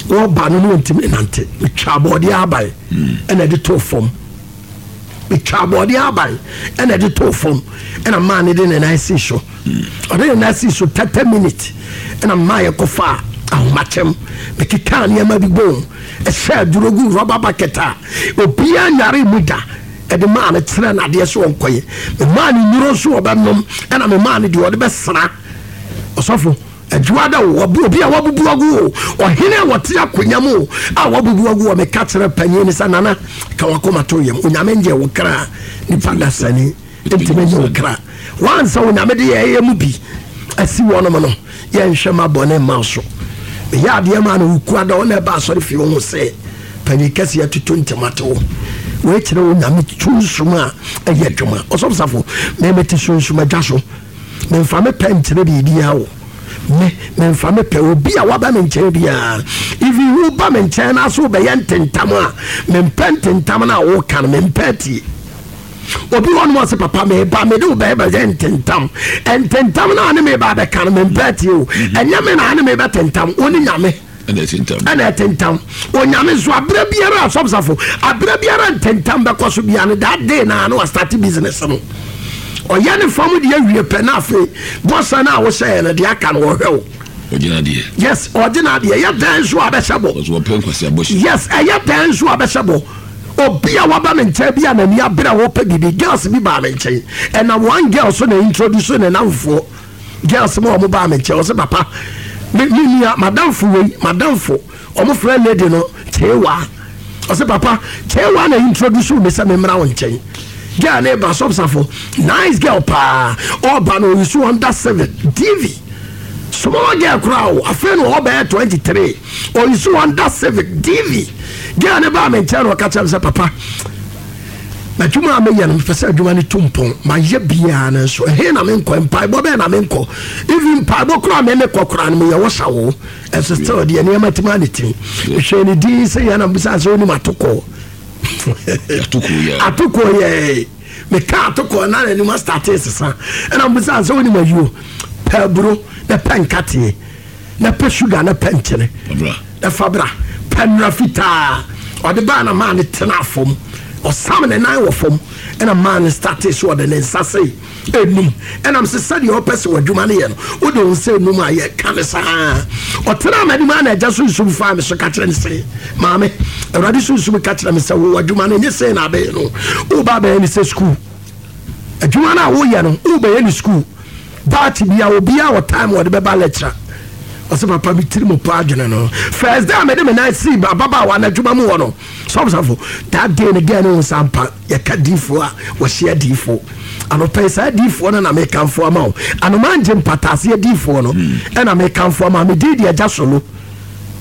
Wɔba no ne wɔntumi nante. Metwa abɔɔdeɛ aban ɛna ɛde too fam. Metwa abɔɔdeɛ aban ɛna ɛde too fam ɛna maa ne de ne nan si so. Ɔde ne nan si so thirty minutes ɛna maa yɛ kɔfa ahomakyɛm. Mekeka nneɛma bi bom ɛhyɛ aduro gu rubber bucket a obiara nyare mu da. Ɛde maa no kyerɛ n'adeɛ so ɔnkɔyɛ. Memaa ne nnuro nso ɔbɛnom ɛna memaa no deɛ ɔde bɛsra. Ɔsɔfo adwuma da o, obi a wabubu agu o, ɔhene a wɔte akonnwa mu o, a wabubu agu o, meka kyerɛ panyin ne sɛ nana ka wakoma to yam. Onyame ngye wo kra, nipa dasani ntumi nye wo kra. Wansa onyame de yɛyɛ mu bi asi wɔnom no, yɛnhwɛ ma bɔne mma so. Meyɛ adeɛ ma no woku ada ɔna ɛba asɔre fie ho sɛ panyin kɛseɛ atutu ntɛm wo. Wei kyerɛ onyame sunsum a ɛyɛ adwuma. Ɔsɔfo safo, mɛmɛte sunsum adwa so. Memfa me pɛ nkyerɛ biribiara wo. Me memfa me pɛ obi a waba me nkyɛn biara. Even woba me nkyɛn na so wobɛyɛ ntentam a, mempɛ ntentam no a woka no, mempɛ tie. Obi wɔ nom ɔsɛ papa meba mede wo bɛyɛ bɛyɛ ntentam. Ntentam no a ne meba bɛka no mempɛ tie o. Ɛnyɛ me na ne mebɛtentam, wo ne Nyame. Ɛna ɛtentam. Onyame nso aberɛ biara asɔfosafo, aberɛ biara ntentam bɛkɔ so biara no, that day na na wastart business no. Ɔyɛ ne fam deɛ awie pɛ na afei bɔsa no a wohyɛɛ no deɛ aka no wɔhwɛ wo. Yes, ɔgyina adeɛ. Ɛyɛ dan nso a bɛhyɛ bɔ. Yes, ɛyɛ dan nso a bɛhyɛ bɔ. Obi a waba me nkyɛn bi a n'ani abere a wɔpɛ biribi, girls bi baa me nkyɛn. Ɛna one girl so na introduce ne namfoɔ. Girls mu a wɔn baa me nkyɛn, ɔsɛ papa, me me nua, madamfo wei, madamfo, wɔn frɛ lady no Kyewa. Ɔsɛ papa, Kyewa na introduce me sɛ me mmra wo nkyɛn. Girl ne ba sɔbsafo, nice girl paa. Ɔba no oyi so under seven D V. Small girl koraa o, afei na ɔbɛyɛ twenty three. Oyi so under seven D V. Girl ne baa me nkyɛn na ɔka kyerɛ me sɛ papa, adwuma a meyɛ no mepɛ sɛ adwuma no tu mpɔn. Mayɛ biara no nso ɛhe na menkɔ, mpaebɔ bɛɛ na menkɔ. Even mpaebɔ koraa me mekɔ koraa no meyɛ wɔ sa wo. Ɛso still deɛ nneɛma tumi ane tiri. Mehwɛ ne din sɛ yɛn na mbisa sɛ wonim atokɔ. Atokɔ yɛ. Meka atokɔ na n'anim astate sesa. Ɛna mbisa sɛ wonim ayuo. Pɛ aburo na pɛ nkateɛ. Na pɛ sugar na pɛ nkyene. Na fa bra. Pɛ nnura fitaa. Ɔde baa na maa ne tena fam. Ɔsam ne nan wɔ fam. Ɛna maa ne starte so ɔde ne nsa sei enum. Ɛnam sɛ sɛdeɛ ɔpɛ sɛ w'adwuma no yɛ no, wode wo nsa enum a yɛka ne saa. Ɔtena m'anim a na agya sunsum faa me so ka kyerɛ ne sɛ, maame, Awurade sunsum ka kyerɛ me sɛ wo adwuma no nyɛ sei na abɛyɛ no. Woba abɛyɛ ne sɛ sukuu. Adwuma no a woyɛ no, wobɛyɛ ne sukuu. Baate bia obiara wɔ time wɔde bɛba lecture. Ɔsɛ papa bi tiri mu pa adwene no. First day a mede me nan sii ababaawa no adwuma mu wɔ no, sɔmsafo, that day no girl no wo sampa. Yɛka diifoɔ a wɔhyia diifoɔ anɔpɛ yi, saa diifoɔ no na mekamfo ama wo. Anoma ngye mpataaseɛ diifoɔ no ɛna mekamfo ama. Medin deɛ agya solo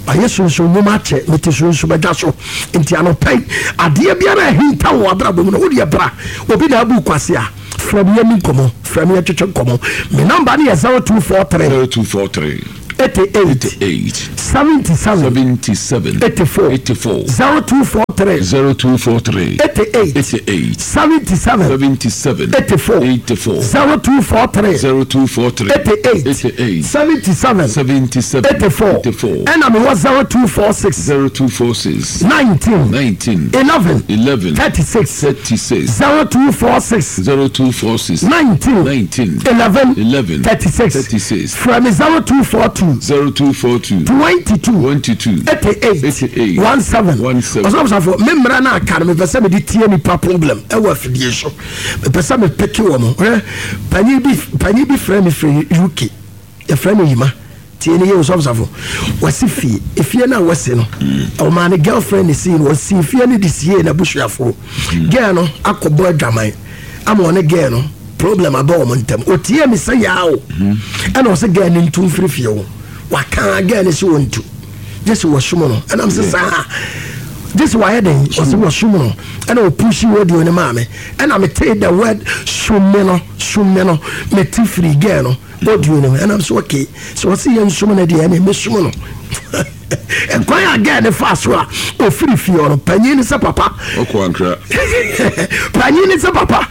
ayɛ sunsun nnwuma akyɛ, mete sunsun adwa so. Nti anɔpɛ yi, adeɛ biara ahinta wɔ abrabɔ mu no, wodeɛ bra. Obi na abu kwase a, frɛ me, yɛni nkɔmmɔ. Frɛ me, yɛtwetwe nkɔmmɔ. Me number no yɛ zero two four three zero two four three eighty-eight eight seventy-seven seventy-seven eighty-four. eighty-four. zero two four three zero two four three eighty-eight eighty-eight seventy-seven seventy-seven eighty-four. eighty-four. zero two four three zero two four three eighty-eight eighty-eight seventy-seven seventy-seven eighty-four. eighty-four. Ɛna mewɔ zero two four six zero two four six nineteen nineteen eleven eleven thirty-six. thirty-six. zero two four six zero two four six nineteen nineteen eleven eleven thirty-six. thirty-six. Frɛ me zero two four two zero two four two twenty-two twenty-two eighty-eight eighty-eight seventeen. seventeen. Ɔsɔfosafo, me mmerɛ no aka no, mepɛ sɛ mede tie nipa problem ɛwɔ afidie so. Mepɛ sɛ mepeke wɔ mo. Hwɛ, panyin bi panyin bi frɛ me firi U K, yɛfrɛ no Yima. Tie ne yɛ, ɔsɔfosafo. Wɔsi fie, efie no a wɔsi no, ɔmaa ne girlfriend ne sii no. Wɔsi fie no de sie n'abusuafoɔ. Girl no akɔbɔ adwaman ama ɔne girl no problem aba wɔn ntam. Otie mi sɛ yaa o, ɛna ɔsɛ girl no ntu mfiri fie o. Waka girl no sɛ wɔntu gye sɛ wɔsom no. Ɛnam sɛ saa gye sɛ wayɛ den, ɔsɛ wɔsom no. Ɛna ɔpush radio no maa me, ɛna metee the word "som me" no, "som me" no, mete firi girl no audio no mu. Ɛnam sɛ okay, sɛ wɔsɛ yɛnsom no deɛ, ɛne mɛsom no. Ɛkwan a girl ne fa so a ɔfiri fie hɔ no, panyin ne sɛ papa ɔkɔ ankra. Panyin ne sɛ papa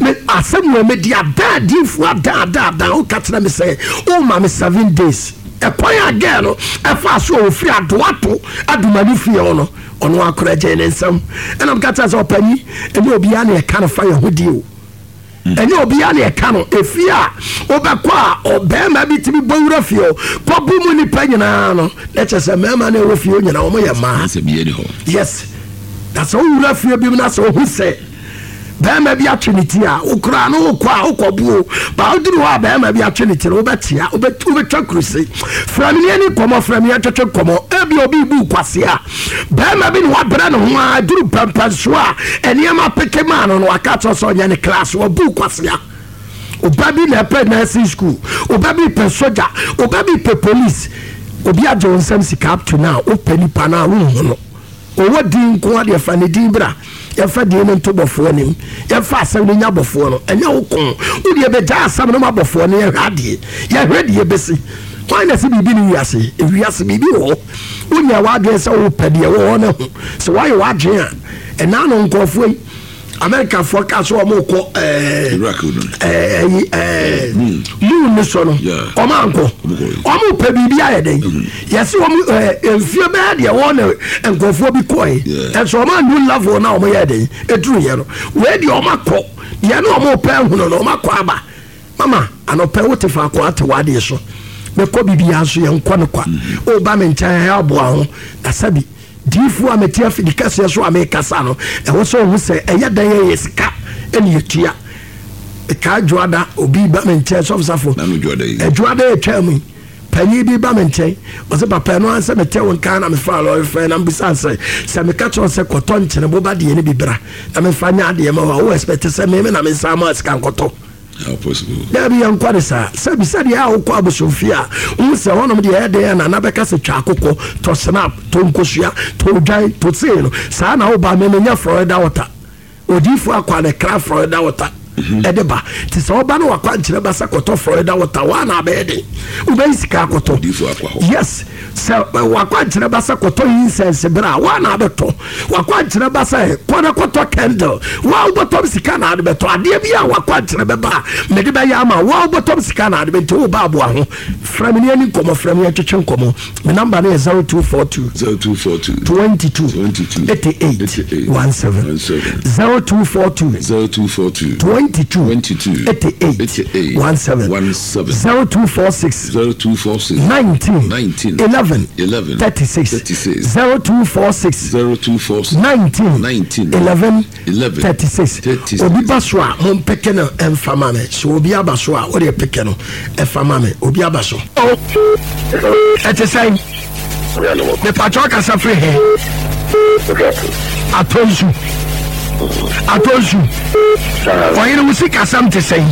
me asɛm wɔ medi adaadifoɔ adaadaadaa. Woka kyerɛ me sɛ woma me seven days. Ɛkwan a girl no ɛfa so a ɔfiri adoato adomani fie hɔ no, ɔno akora gye ne nsɛm. Ɛna meka kyerɛ sɛ ɔpanyin, ɛnyɛ obiara ne ɛka no fa yɛ ho di o, ɛnyɛ obiara ne ɛka no. Efie a wobɛkɔ a ɔbɛrima bi tumi bɔ wura fie o kɔbu mu nipa nyinaa no, na kyerɛ sɛ mmarima no ɛwɔ fie hɔ nyinaa wɔn yɛ mmaa. Sɛ biyɛ ni hɔ. Yes, na sɛ wowura fie bi mu na sɛ wohu sɛ bɛrima bi atwe ne ti a, wokora no wokɔ a wokɔbuo ba. Woduru hɔ a bɛrima bi atwe ne ti no, wobɛtea, wobɛtwa kuruse. Frɛ me ne ani nkɔmmɔ, frɛ me yɛtwetwe nkɔmmɔ. Ebi obi bu kwase a bɛrima bi ne wabrɛ ne ho a duru pɛmpɛnso a nneɛma peke maa no no, waka kyerɛ sɛ ɔnyɛ ne class. Wɔbu kwasea. Ɔba bi na ɛpɛ nursing school, ɔba bi pɛ soja, ɔba bi pɛ police. Obi agye wo nsɛm sika up to now, wopɛ nipa no a wonhu no. Ɔwɔ din nko adeɛ, fa ne din bra, yɛmfa din no nto bɔfoɔ anim, yɛmfa asɛm no nya bɔfoɔ no. Ɛnyɛ wo ko, wodeɛ bɛgya asɛm no ma bɔfoɔ no. Yɛhwɛ adeɛ, yɛhwɛ deɛ bɛsi kwan na sɛ biribi ne wiase. Ewiase biribi wɔ hɔ. Wonya w'adwene sɛ wopɛ deɛ wɔ hɔ no ho sɛ woayɛ w'adwene a, ɛnaa no nkɔɔfoɔ yi, Amerikafoɔ kaa sɛ ɔmo kɔ ɛɛ Iraq no. Ɛɛ ɛɛ moon ne so no. Yeah. Ɔmo ankɔ. Ɔmo kɔ. Ɔmo pɛ biribi ayɛ dɛn? Yɛsi ɔmo ɛɛ mfie bɛyɛ deɛ wɔn na nkurɔfoɔ bi kɔɛ. Yeah. Ɛnso ɔmo anu level na ɔmo yɛ dɛn eduru yɛ no. Wei deɛ, ɔmo akɔ deɛ ne ɔmo pɛ ehunu no, ɔmo akɔ aba. Mama, anɔpɛ wote faako ate w'adeɛ so, mɛkɔ biribiara nso yɛn nkɔ no kwa. Ɔba me nkyɛn ɛyɛ aboa ho na sɛbi diifoɔ a mete afidi kɛseɛ so a mekasa no, ɛwɔ sɛ ɔhu sɛ ɛyɛ dɛn yɛyɛ sika ɛne yɛtua ɛkaa. Dwoada obi ba me nkyɛn, sɔfosafo. Nanu dwoada yi. Adwoada yɛtwa mu yi, panyin bi ba me nkyɛn, ɔsɛ papa, ɛno ansɛ mete wo nka na mefa lɔre fɛ na mbisa sɛ sɛ meka kyerɛ wo sɛ kɔtɔ nkyene boba deɛ no bi bra na memfa nyɛ adeɛ ma wo a, wo expect sɛ meme na mensa ma sika nkɔtɔ? How possible? Dabi, yɛnkɔ ne saa. Sɛbi sɛdeɛ a wokɔ abosomfie a, wohu sɛ hɔnom deɛ ɛyɛ den a nana bɛka sɛ twa akokɔ, tɔ snap, tɔ nkosua, tɔ odwan, tɔ sei no. Saa na woba me menya Florida water. Odiifoɔ akɔ a ne kra Florida water ɛde ba. Nti sɛ woba no wakɔ ankyerɛ ba sɛ kɔtɔ Florida water woa na abɛyɛ den wobɛyi sika akɔtɔ. Odiifoɔ akɔ hɔ. Yes, sɛ wakɔ ankyerɛ ba sɛ kɔtɔ incense berɛ a woa na abɛtɔ. Wakɔ ankyerɛ ba sɛ kɔ na kɔtɔ candle, woa wobɔtɔm sika na ade bɛtɔ. Adeɛ bi a wakɔ ankyerɛ bɛba a mede bɛyɛ ama woa, wobɔtɔm sika na ade bɛ. Nti woba aboa ho, frɛ me ne ani nkɔmmɔ, frɛ me yɛtwetwe nkɔmmɔ. Me number no yɛ zero two four two zero two four two twenty-two twenty-two eighty-eight eighty-eight seventeen seventeen zero two four two zero two four two. twenty-two twenty-two eighty-eight eighty-eight seventeen seventeen zero two four six zero two four six nineteen nineteen eleven eleven thirty-six thirty-six zero two four six zero two four six nineteen nineteen eleven eleven thirty-six. thirty-six. Obi ba so a, mompɛkɛ no ɛmfa ma me. Sɛ obi aba so a, wode pɛkɛ no ɛfa ma me. Obi aba so, ɛte sɛn? Mepatwɛ, kasa firi he? Atɔnsu, Atɔnsu. Ɔyere, wo sikasɛm te sɛn?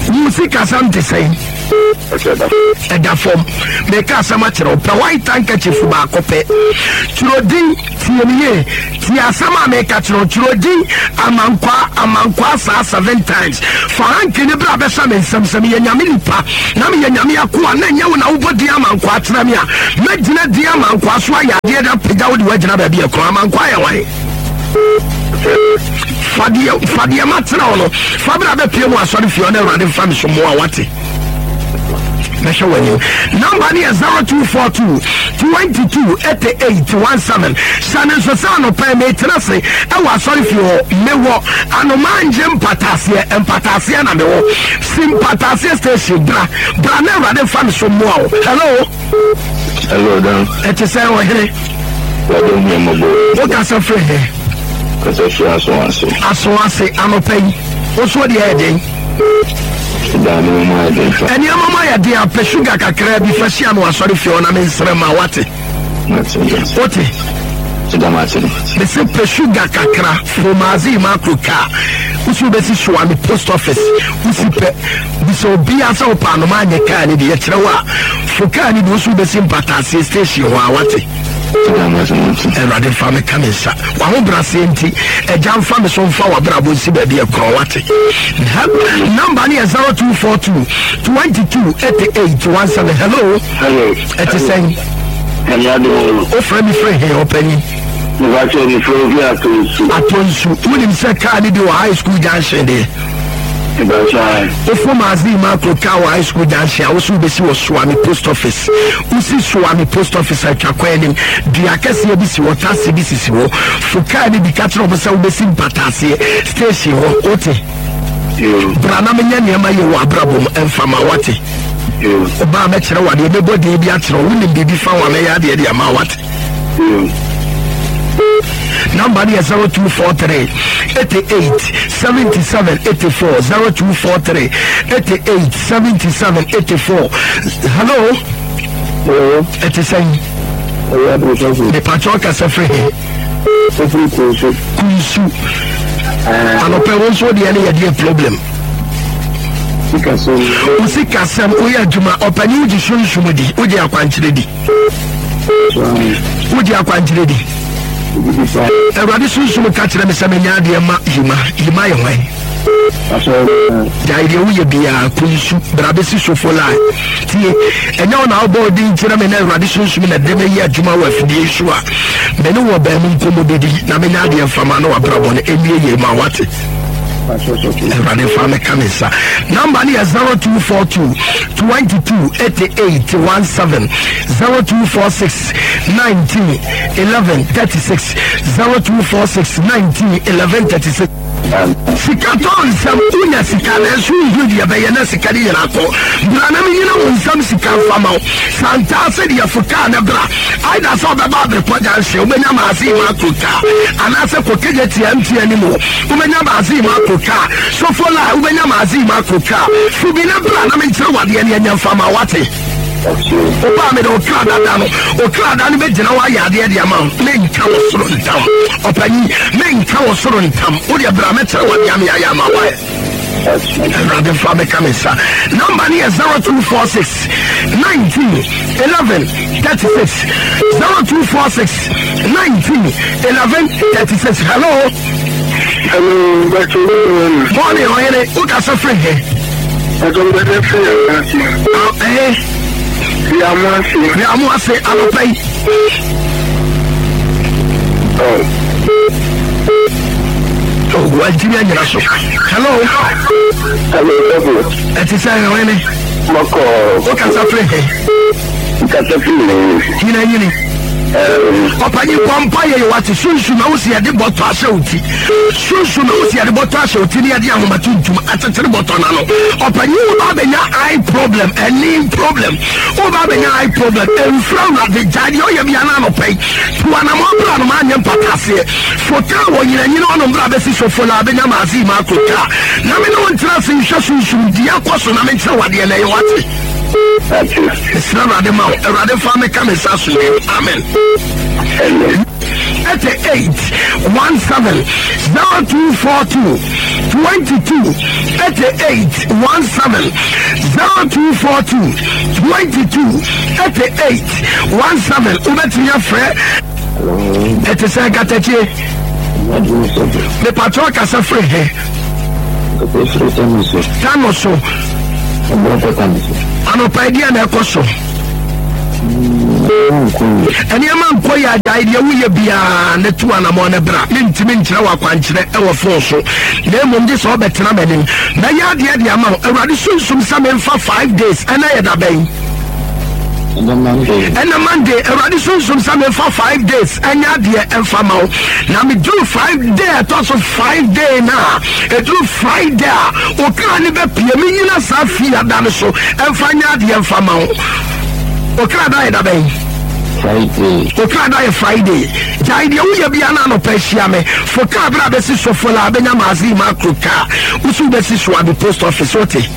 Wo sikasɛm te sɛn? Ɛda fam. Meka asɛm akyerɛ wo pɛ, white handkerchief baako pɛ, twerɛdin. Tie me yie, tie asɛm a meka kyerɛ wo. Twerɛdin Amankwaa, Amankwaa saa seven times. Fa hanky ne berɛ a bɛhyɛ me nsɛm sɛ meyɛ Nyame nipa na meyɛ Nyame akoa na ɛnyɛ wo na wobɔ din Amankwaa kyerɛ me a, mɛgyina din Amankwaa so ayɛ adeɛ da pagya wo de woagyina baabi ɛkorɔ. Amankwaa yɛ wan? Fadeɛ fadeɛ ma tena wo no, fa berɛ a bɛpie mu asɔre fie ɔne Awurade mfa me so mmoa. Wate? Mɛhwɛ w'anim. Number ne yɛ zero two four two twenty-two eighty-eight seventeen. Hyɛ ne nso sɛ anɔpɛ metena se ɛwɔ asɔre fie hɔ. Mewɔ Anomangye Mpataseɛ, Mpataseɛ na mewɔ si Mpataseɛ station. Bra, bra na Awurade mfa me so mmoa wo. Hello. Hello, Dan. Ɛte sɛ ɔhene? Wade hu mmɔbɔ. Wokasa firi he? Kasa firi aso ase. Aso ase. Anɔpɛ yi wo so deɛ ɛyɛ den? Da ne mu ayɛ den fa. Ɛnneɛma ma yɛ den a, pɛ sugar kakraa bi fa hyia no asɔre fie hɔ na mensrɛ ma. Wate? Mate. Wote? Da mate. Mese pɛ sugar kakra fromazi macro car, wosi wobɛsi Soame post office. Wosi pɛ bisɛ obia sɛ wopɛ anoma anyɛ kaa ne de yɛkyerɛ wo a, fo kaa ne de wosi wobɛsi Mpataseɛ station hɔ a. Wate? Da mate mate. Awurade mfa me ka me nsa wahobraseɛ nti agya mfa me so mfa wabrabɔ nsi baabi ɛkorɔ. Wate? Number ne yɛ zero two four two twenty-two eighty-eight seventeen. Hello. Hello. Ɛte sɛn? Ɛnyɛ ade wo. Wofrɛ me frɛ he, ɔpanyin? Mebakyɛ ne frɛ obi ato nsu. Atɔ nsu. Wonim sɛ kaa ne bi wɔ High School junction deɛ? Mebakyɛ. Wofo maase ma akoro kaa wɔ High School junction a, woso wobɛsi wɔ Soame post office. Wosi Soame post office, atwa kwan anim dua kɛseɛ bi si hɔ, taxi bi sisi hɔ. Fo kaa ne bi, ka kyerɛ ɔmo sɛ wobɛsi Mpataaseɛ station hɔ. Wote? Yo. Bra na menyɛ nneɛma yɛ wɔ abrabɔ mu ɛmfa ma. Wate? Yo. Ɔbaa mɛkyerɛ wo adeɛ, mɛbɔ din bi akyerɛ wo. Wonim biribi fa wo a, mɛyɛ adeɛ de ama. Wate? Yo. Number no yɛ zero two four three eighty-eight seventy-seven eighty-four, zero two four three eighty-eight seventy-seven eighty-four. Hello. Hello. Ɛte sɛn? Ɛyɛ ade sɔfo. Mepakyɛ, ɔkasa firi he? Ofiri Kunsu. Kunsu. Anɔpɛ wo nso deɛ ne yɛdeɛ problem? Sikasɛm. Wo sikasɛm. Woyɛ adwuma, ɔpani? Wogye sunsum di? Wogye akwankyerɛ di? Wogye akwankyerɛ di? Awurade sunsum ka kyerɛ me sɛ menya adeɛ ma yima. Yima yɛ hwan? Gyae deɛ woyɛ biaa. Kunsu, bra bɛsi Sofo line. Tie, ɛnyɛ wo na wobɔ wo din kyerɛ me na Awurade sunsum na de mɛyɛ adwuma wɔ afidie yi so a, mene wɔ baamu nkɔmmɔ bɛdi na menya adeɛ mfama na wabrabɔ no ɛnwie yie ma. Wate? Awurade fa me ka me nsa. Number no yɛ zero two four two twenty-two eighty-eight seventeen, zero two four six nineteen eleven thirty-six, zero two four six nineteen eleven thirty-six. Sika tɔ nsɛm. Wonya sika nanso wohu deɛ bɛyɛ na sika de nyina kɔ. Bra na menyina wo nsɛm sika mfa ma wo santaa sɛ deɛ fo kaa ne bra aida sɛ wobɛba Aberepɔ junction, wobɛnya maase ma akoro kaa, anaasɛ kɔkɛgye tia M T N mu, wobɛnya maase ma akoro kaa. Sofo la, wobɛnya maase ma akoro kaa. Fo bi na bra na menkyerɛ wadeɛ ne ɛnyɛ mfa ma. Wate? Wobaa mede okra dada no, okra da no bɛgyina hɔ ayɛ adeɛ de ama wo. Menka wɔ soro ntam, ɔpanyin, menka wɔ soro ntam. Wodeɛ bra, mɛkyerɛ wadeɛ ame ayɛ ama woayɛ. Awurade fa meka me nsa. Number no yɛ zero two four six nineteen eleven thirty-six, zero two four six nineteen eleven thirty-six. Hello. Hello, Bàtchɛ good morning. Morning, ɔhene. Wokasa firi he? Bàtchɛ mbɛdɛ firi Yamase. Ɛhe? Yamase. Yamo ase. Anɔpa yi? Oh. Wantimi anyina so. Hello. Hello, sɔfo. Ɛte sɛ, ɔhene? Mɔkɔ. Wokasa firi he? Kasa firi Nyina. Nyina nyini. Ɔpanyin, bɔ mpa yɛ wate. Sunsun na wosi yɛde bɔtɔ ahyɛ wo ti. Sunsun na wosi yɛde bɔtɔ ahyɛ wo ti ne yɛde ahoma tuntum akyekyere bɔtɔ n'ano. Ɔpanyin, wo ba bɛnya eye problem, ɛni problem, wo ba bɛnya eye problem. Mfra Awurade, gya deɛ ɔyɛ bia no anɔpɛ yi, to anamɔ bra no ma anyɛ mpata aseɛ. Fo kaa wɔ nyinanyina ɔnom bra bɛsi sofo la abɛnya maase ma akɔ kaa na me ne wo ntena ase nhwɛ sunsum deɛ akɔ so na menkyerɛ wadeɛ na ɛyɛ wate. Mesrɛ Awurade ma wo. Awurade fa meka me nsa so yɛ. Amen. Eighty eight one seven zero two four two twenty two eighty eight one seven zero two four two twenty two eighty eight one seven. Wobɛtumi afrɛ. Ɛte sɛ nkatakye mepatɔ kasa firi he tano so anɔpa deɛ na ɛkɔ so. Nneɛma nkɔ yɛ. Agyae deɛ woyɛ biara ne to anammɔ ne bra. Mentumi nkyerɛ wɔ akwankyerɛ ɛwɔ phone so, na mmom gye sɛ wobɛtena m'anim. Mɛyɛ adeɛ de ama wo. Awurade sunsum sɛ memfa five days. Ɛna yɛ da bɛn? Ɛna Monday. Awurade sunsum sɛ memfa five days ɛnyɛ adeɛ ɛmfa ma wo, na meduru five day, ɛtɔ so five day na ɛduru Friday a, okra ne bɛpie. Menyina saa fie ada no so ɛmfa nyɛ adeɛ mfa ma wo. Okra da yɛ da bɛn? Okra da yɛ Friday. Gyae deɛ woyɛ bia no anɔpa ahyia me. Fo kaa berɛ a bɛsi sofo la bɛnya maase ma akoro kaa woso wobɛsi so ade post office. Wote?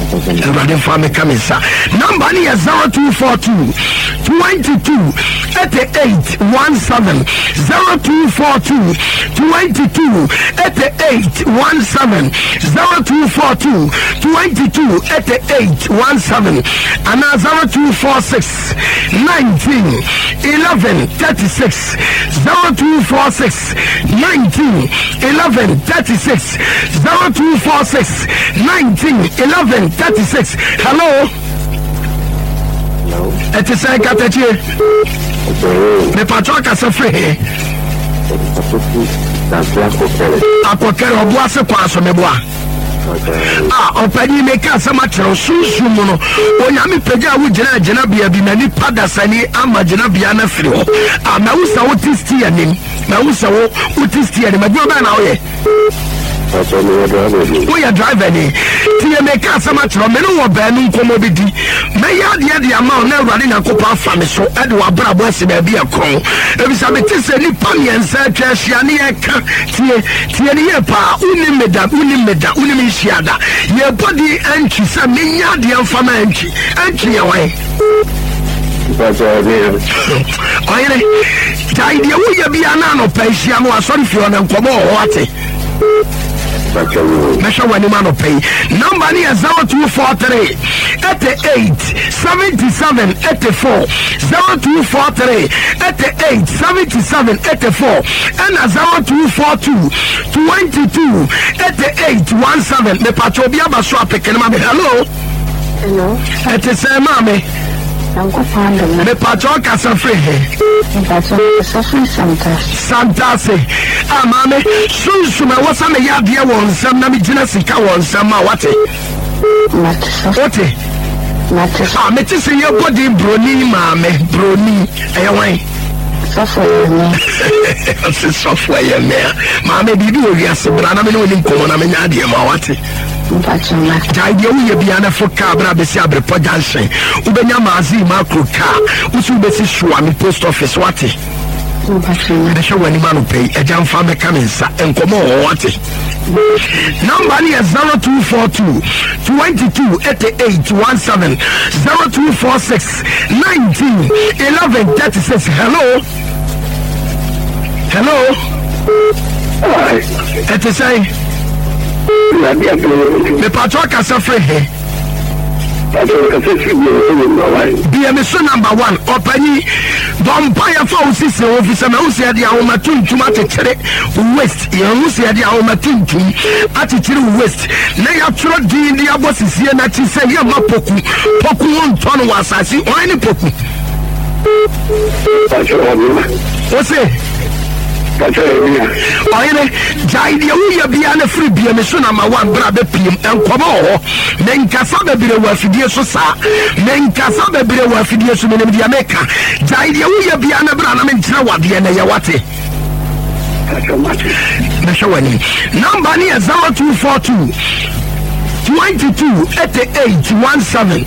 Awurade mfa meka me nsa. Number no yɛ zero two four two twenty-two eighty-eight seventeen, zero two four two twenty-two eighty-eight seventeen, zero two four two twenty-two eighty-eight seventeen anaa zero two four six nineteen eleven thirty-six, zero two four six nineteen eleven thirty-six, zero two four six nineteen eleven thirty-six. Hello, ɛte sɛ nkatakye mepatɔ akasa firi he? Akɔkɛrɛ ɔboase kwan so meboa a. Ɔpanyin, meka asɛm akyerɛw. Sunsum mu no, Onyame pagya a wogyina gyinabea bi na nipa dasani ama gyinabea no afiri hɔ a. Mawu sɛ wote sti anim, mawu sɛ wo wote sti anim. Adwuma bɛɛ na woyɛ? Woyɛ driver ni. Tie, meka asɛm akyerɛw. Me ne wɔ baanu nkɔmmɔ bi di. Mɛyɛ adeɛ de ama wo na Awurade Nyankopɔn afa me so ɛde w'abrabɔ asi baabi ɛkorɔn, ebisa mete sɛ nnipa mmiɛnsa atwa ahyia ne yɛka. Tie, tie ne yie paa. Wonim me da, wonim me da, wonim nhyia da. Yɛbɔ din antwi sɛ menyɛ adeɛ mfa ma antwi. Antwi yɛ hwan? Ɔyere. Gyae deɛ woyɛ bia na anɔpa ahyia no asɔre fie hɔ na nkɔmmɔ wɔ hɔ. Ate? Mɛhwɛ w'anim anɔpa yi. Number no yɛ zero two four three eighty-eight seventy-seven eighty-four, zero two four three eighty-eight seventy-seven eighty-four ɛna zero two four two twenty-two eighty-eight seventeen. Mepatwa obi aba so apeke no ma me. Hello. Hello. Ɛte sɛ maame? Nyankopɔn adom. Mepatwa ɔkasa firi he? Mpatwa kasa firi Santase. Santase a. Maame, sunsum ɛwɔ sɛ meyɛ adeɛ wɔ nsɛm na megyina sika wɔ nsɛm a wate. Mate so. Wote? Mate so. A mete sɛ yɛbɔ din broni. Maame, broni ɛyɛ wan? Sɔfo yɛ me. Ɔse sɔfo ɛyɛ mmea. Maame, biribi wɔ wiase, bra na mene wo ni nkɔmmɔ na menya adeɛ ma wate. Mpatwa mate. Gyae deɛ woyɛ bia no, fo kaa bra bɛsi Aberepɔ Junction. Wobɛnya maase makro kaa wosi wobɛsi Soame post office. Wate? Mpatwa mate. Bɛhwɛ w'anim anɔpa yi. Agya mfa mɛka me nsa. Nkɔmmɔ wɔ hɔ. Wate? Number no yɛ zero two four two twenty-two eighty-eight seventeen, zero two four six nineteen eleven thirty-six. Hello, hello. Ɛte sɛn? Mepatɔ kasa firi he? Bia me so number one. Ɔpanyi, bɔmpa yɛfa wo sisi wo fi sɛ mahu sɛ yɛde ahoma tuntum akyekyere wo waist. Yɛhu sɛ yɛde ahoma tuntum akyekyere wo waist na yɛatwerɛ din de abɔ sisie n'akyi sɛ yɛmma poku poku wo ntɔ no wɔ asase. Ɔn ne poku wo se Ɔyere, gyae deɛ woyɛ biara na firi bie me so na ma woabrɛ bɛpiem. Nkɔmmɔ wɔ hɔ. Menkasa bebree wɔ afidie so saa. Menkasa bebree wɔ afidie so, menim deɛ meka. Gyae deɛ woyɛ biara na bra na menkyerɛ wadeɛ na yɛ wate. Mehwɛ w'anim. Number ne yɛ zero two four two twenty-two eighty-eight seventeen,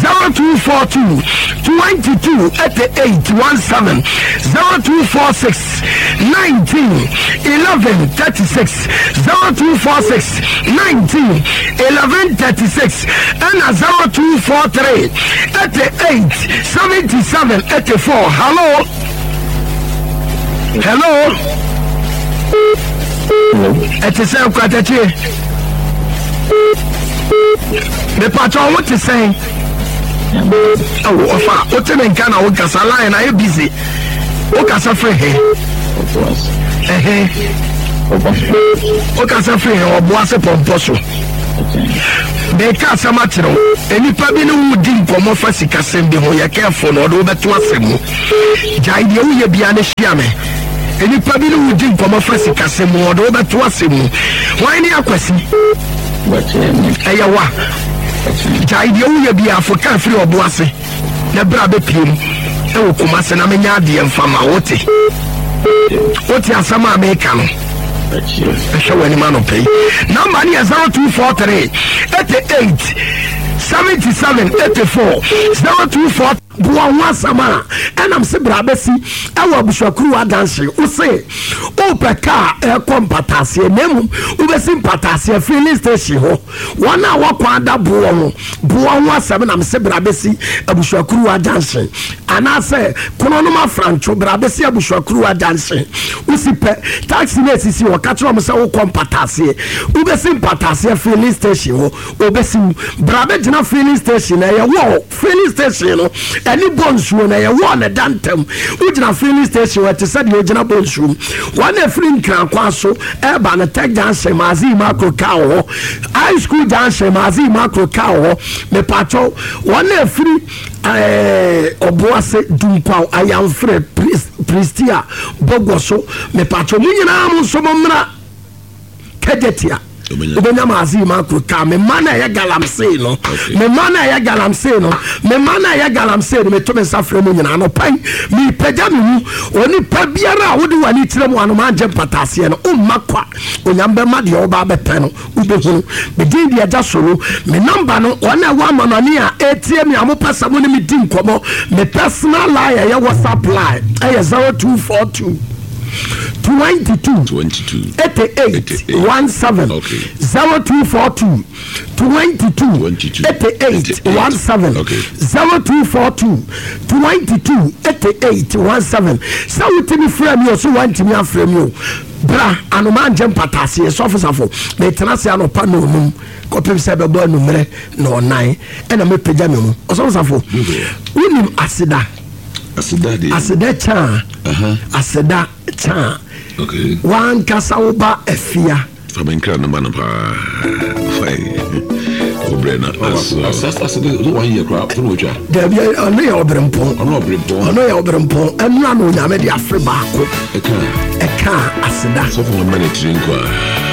zero two four two twenty-two eighty-eight seventeen, zero two four six nineteen eleven thirty-six, zero two four six nineteen eleven thirty-six, ɛna zero two four three eighty-eight seventy-seven eighty-four. Hello, hello, ɛte sɛ nkwatakyie mepatɛ wo te sɛn? Ɛwɔ ɔfa wote ne nka na wokasa, line ayɛ busy. Wokasa firi he? Ɛhe wokasa firi he? Ɔboa se pɔmpɔ so. Meka asɛm akyerɛ wo, nnipa bi ne wo di nkɔmmɔ fa sikasɛm bi ho. Yɛ kɛfo no, ɔde wobɛto asɛm mu. Gyae deɛ woyɛ bia ne hyia me. Nnipa bi ne wo di nkɔmmɔ fa sikasɛm mu, ɔde wobɛto asɛm mu. Hwan ne Akwasi? Ɛyɛ wa. Gyae deɛ woyɛ bia, afo ka firi ɔbo ase na berɛ a bɛpiem ɛwɔ Kumase na menya adeɛ mfa ma wote. Wote asɛm a meka no? Ɛhwɛ w'anim anɔpɛ yi, number ne yɛ zero two four three eighty-eight seventy-seven eighty-four, zero two four. Boa ho asɛm a ɛnam se bra bɛsi ɛwɔ abusuakuru adanse. Wo se wopɛ kaa ɛkɔ Mpataaseɛ, na mmom wobɛsi Mpataaseɛ filling station hɔ. Wɔn a wɔkɔ ada boɔ ho, boa ho asɛm nam se bra bɛsi abusuakuru adanse, anaasɛ Kononom Afrantwo, bra bɛsi abusuakuru adanse. Wosi pɛ taxi no esisi hɔ, ka kyerɛ wɔn sɛ wokɔ Mpataaseɛ. Wobɛsi Mpataaseɛ filling station hɔ, obɛsi mu. Bra bɛgyina filling station na ɛyɛ wɔ filling station no ɛne bɔ nsuo na ɛyɛ wɔ ne da ntɛm. Wogyina filling station hɔ, ɛte sɛ deɛ ogyina bɔ nsuo mu. Wɔn a ɛfiri Nkrankwa so ɛreba no, Tech Junction, Maazi Macro kaa wɔ hɔ, High School Junction, Maazi Macro kaa wɔ hɔ. Mepatwɛw, wɔn a ɛfiri ɛɛ Ɔboase, Dunkwaw, Ayamfrɛ, Prestia, Bɔgɔ so, mepatwɛw, mo nyinaa mo nso mo mmra Kɛgɛtia. Wobɛnya Maazi Macro kaa. Me ma na ɛyɛ galamsey no, me ma na ɛyɛ galamsey no, me ma na ɛyɛ galamsey no. Meto me nsa frɛ mu nyinaa anɔpa yi, mepagya me mu. Onipa biara a wode w'ani kyerɛ mu anoma agye mpataseɛ no, womma kwa. Onyam bɛma deɛ woba bɛpɛ no wobɛhunu. Medin deɛ agya solo. Me number no, wɔn a ɛwɔ amanɔne a ɛtie me a mopɛ sɛ mo ne me di nkɔmmɔ, me personal line ɛyɛ WhatsApp line, ɛyɛ zero two four two twenty-two twenty-two eighty-eight seventeen. Okay. zero two four two twenty-two twenty-two eighty-eight seventeen. Okay. zero two four two twenty-two eighty-eight seventeen. Sɛ wotumi frɛ mi o, so wantumi afrɛ mi o, bra anoma ngye mpataseɛ. Sɔfo Safo, metena se anɔpa na onum kɔpem sɛ ɛbɛbɔ anummerɛ na ɔnan ɛna mɛpagya me mu. Ɔsɔfo Safo, wonim aseda? Aseda deɛ. Aseda kyaa. Aha. Aseda kyaa. Okay. Wankasa woba Afia. Fa me nkra no ma no paa. Fine. Wobrɛ no aso. Aseda one year koraa fo na wɔtwa. Dabi, ɔno yɛ ɔberempɔn. Ɔno ɔberempɔn. Ɔno yɛ ɔberempɔn. Ɛnura na Onyame de afe baako ɛka ɛka aseda. Sɔfo ma ne tiri nkɔ a.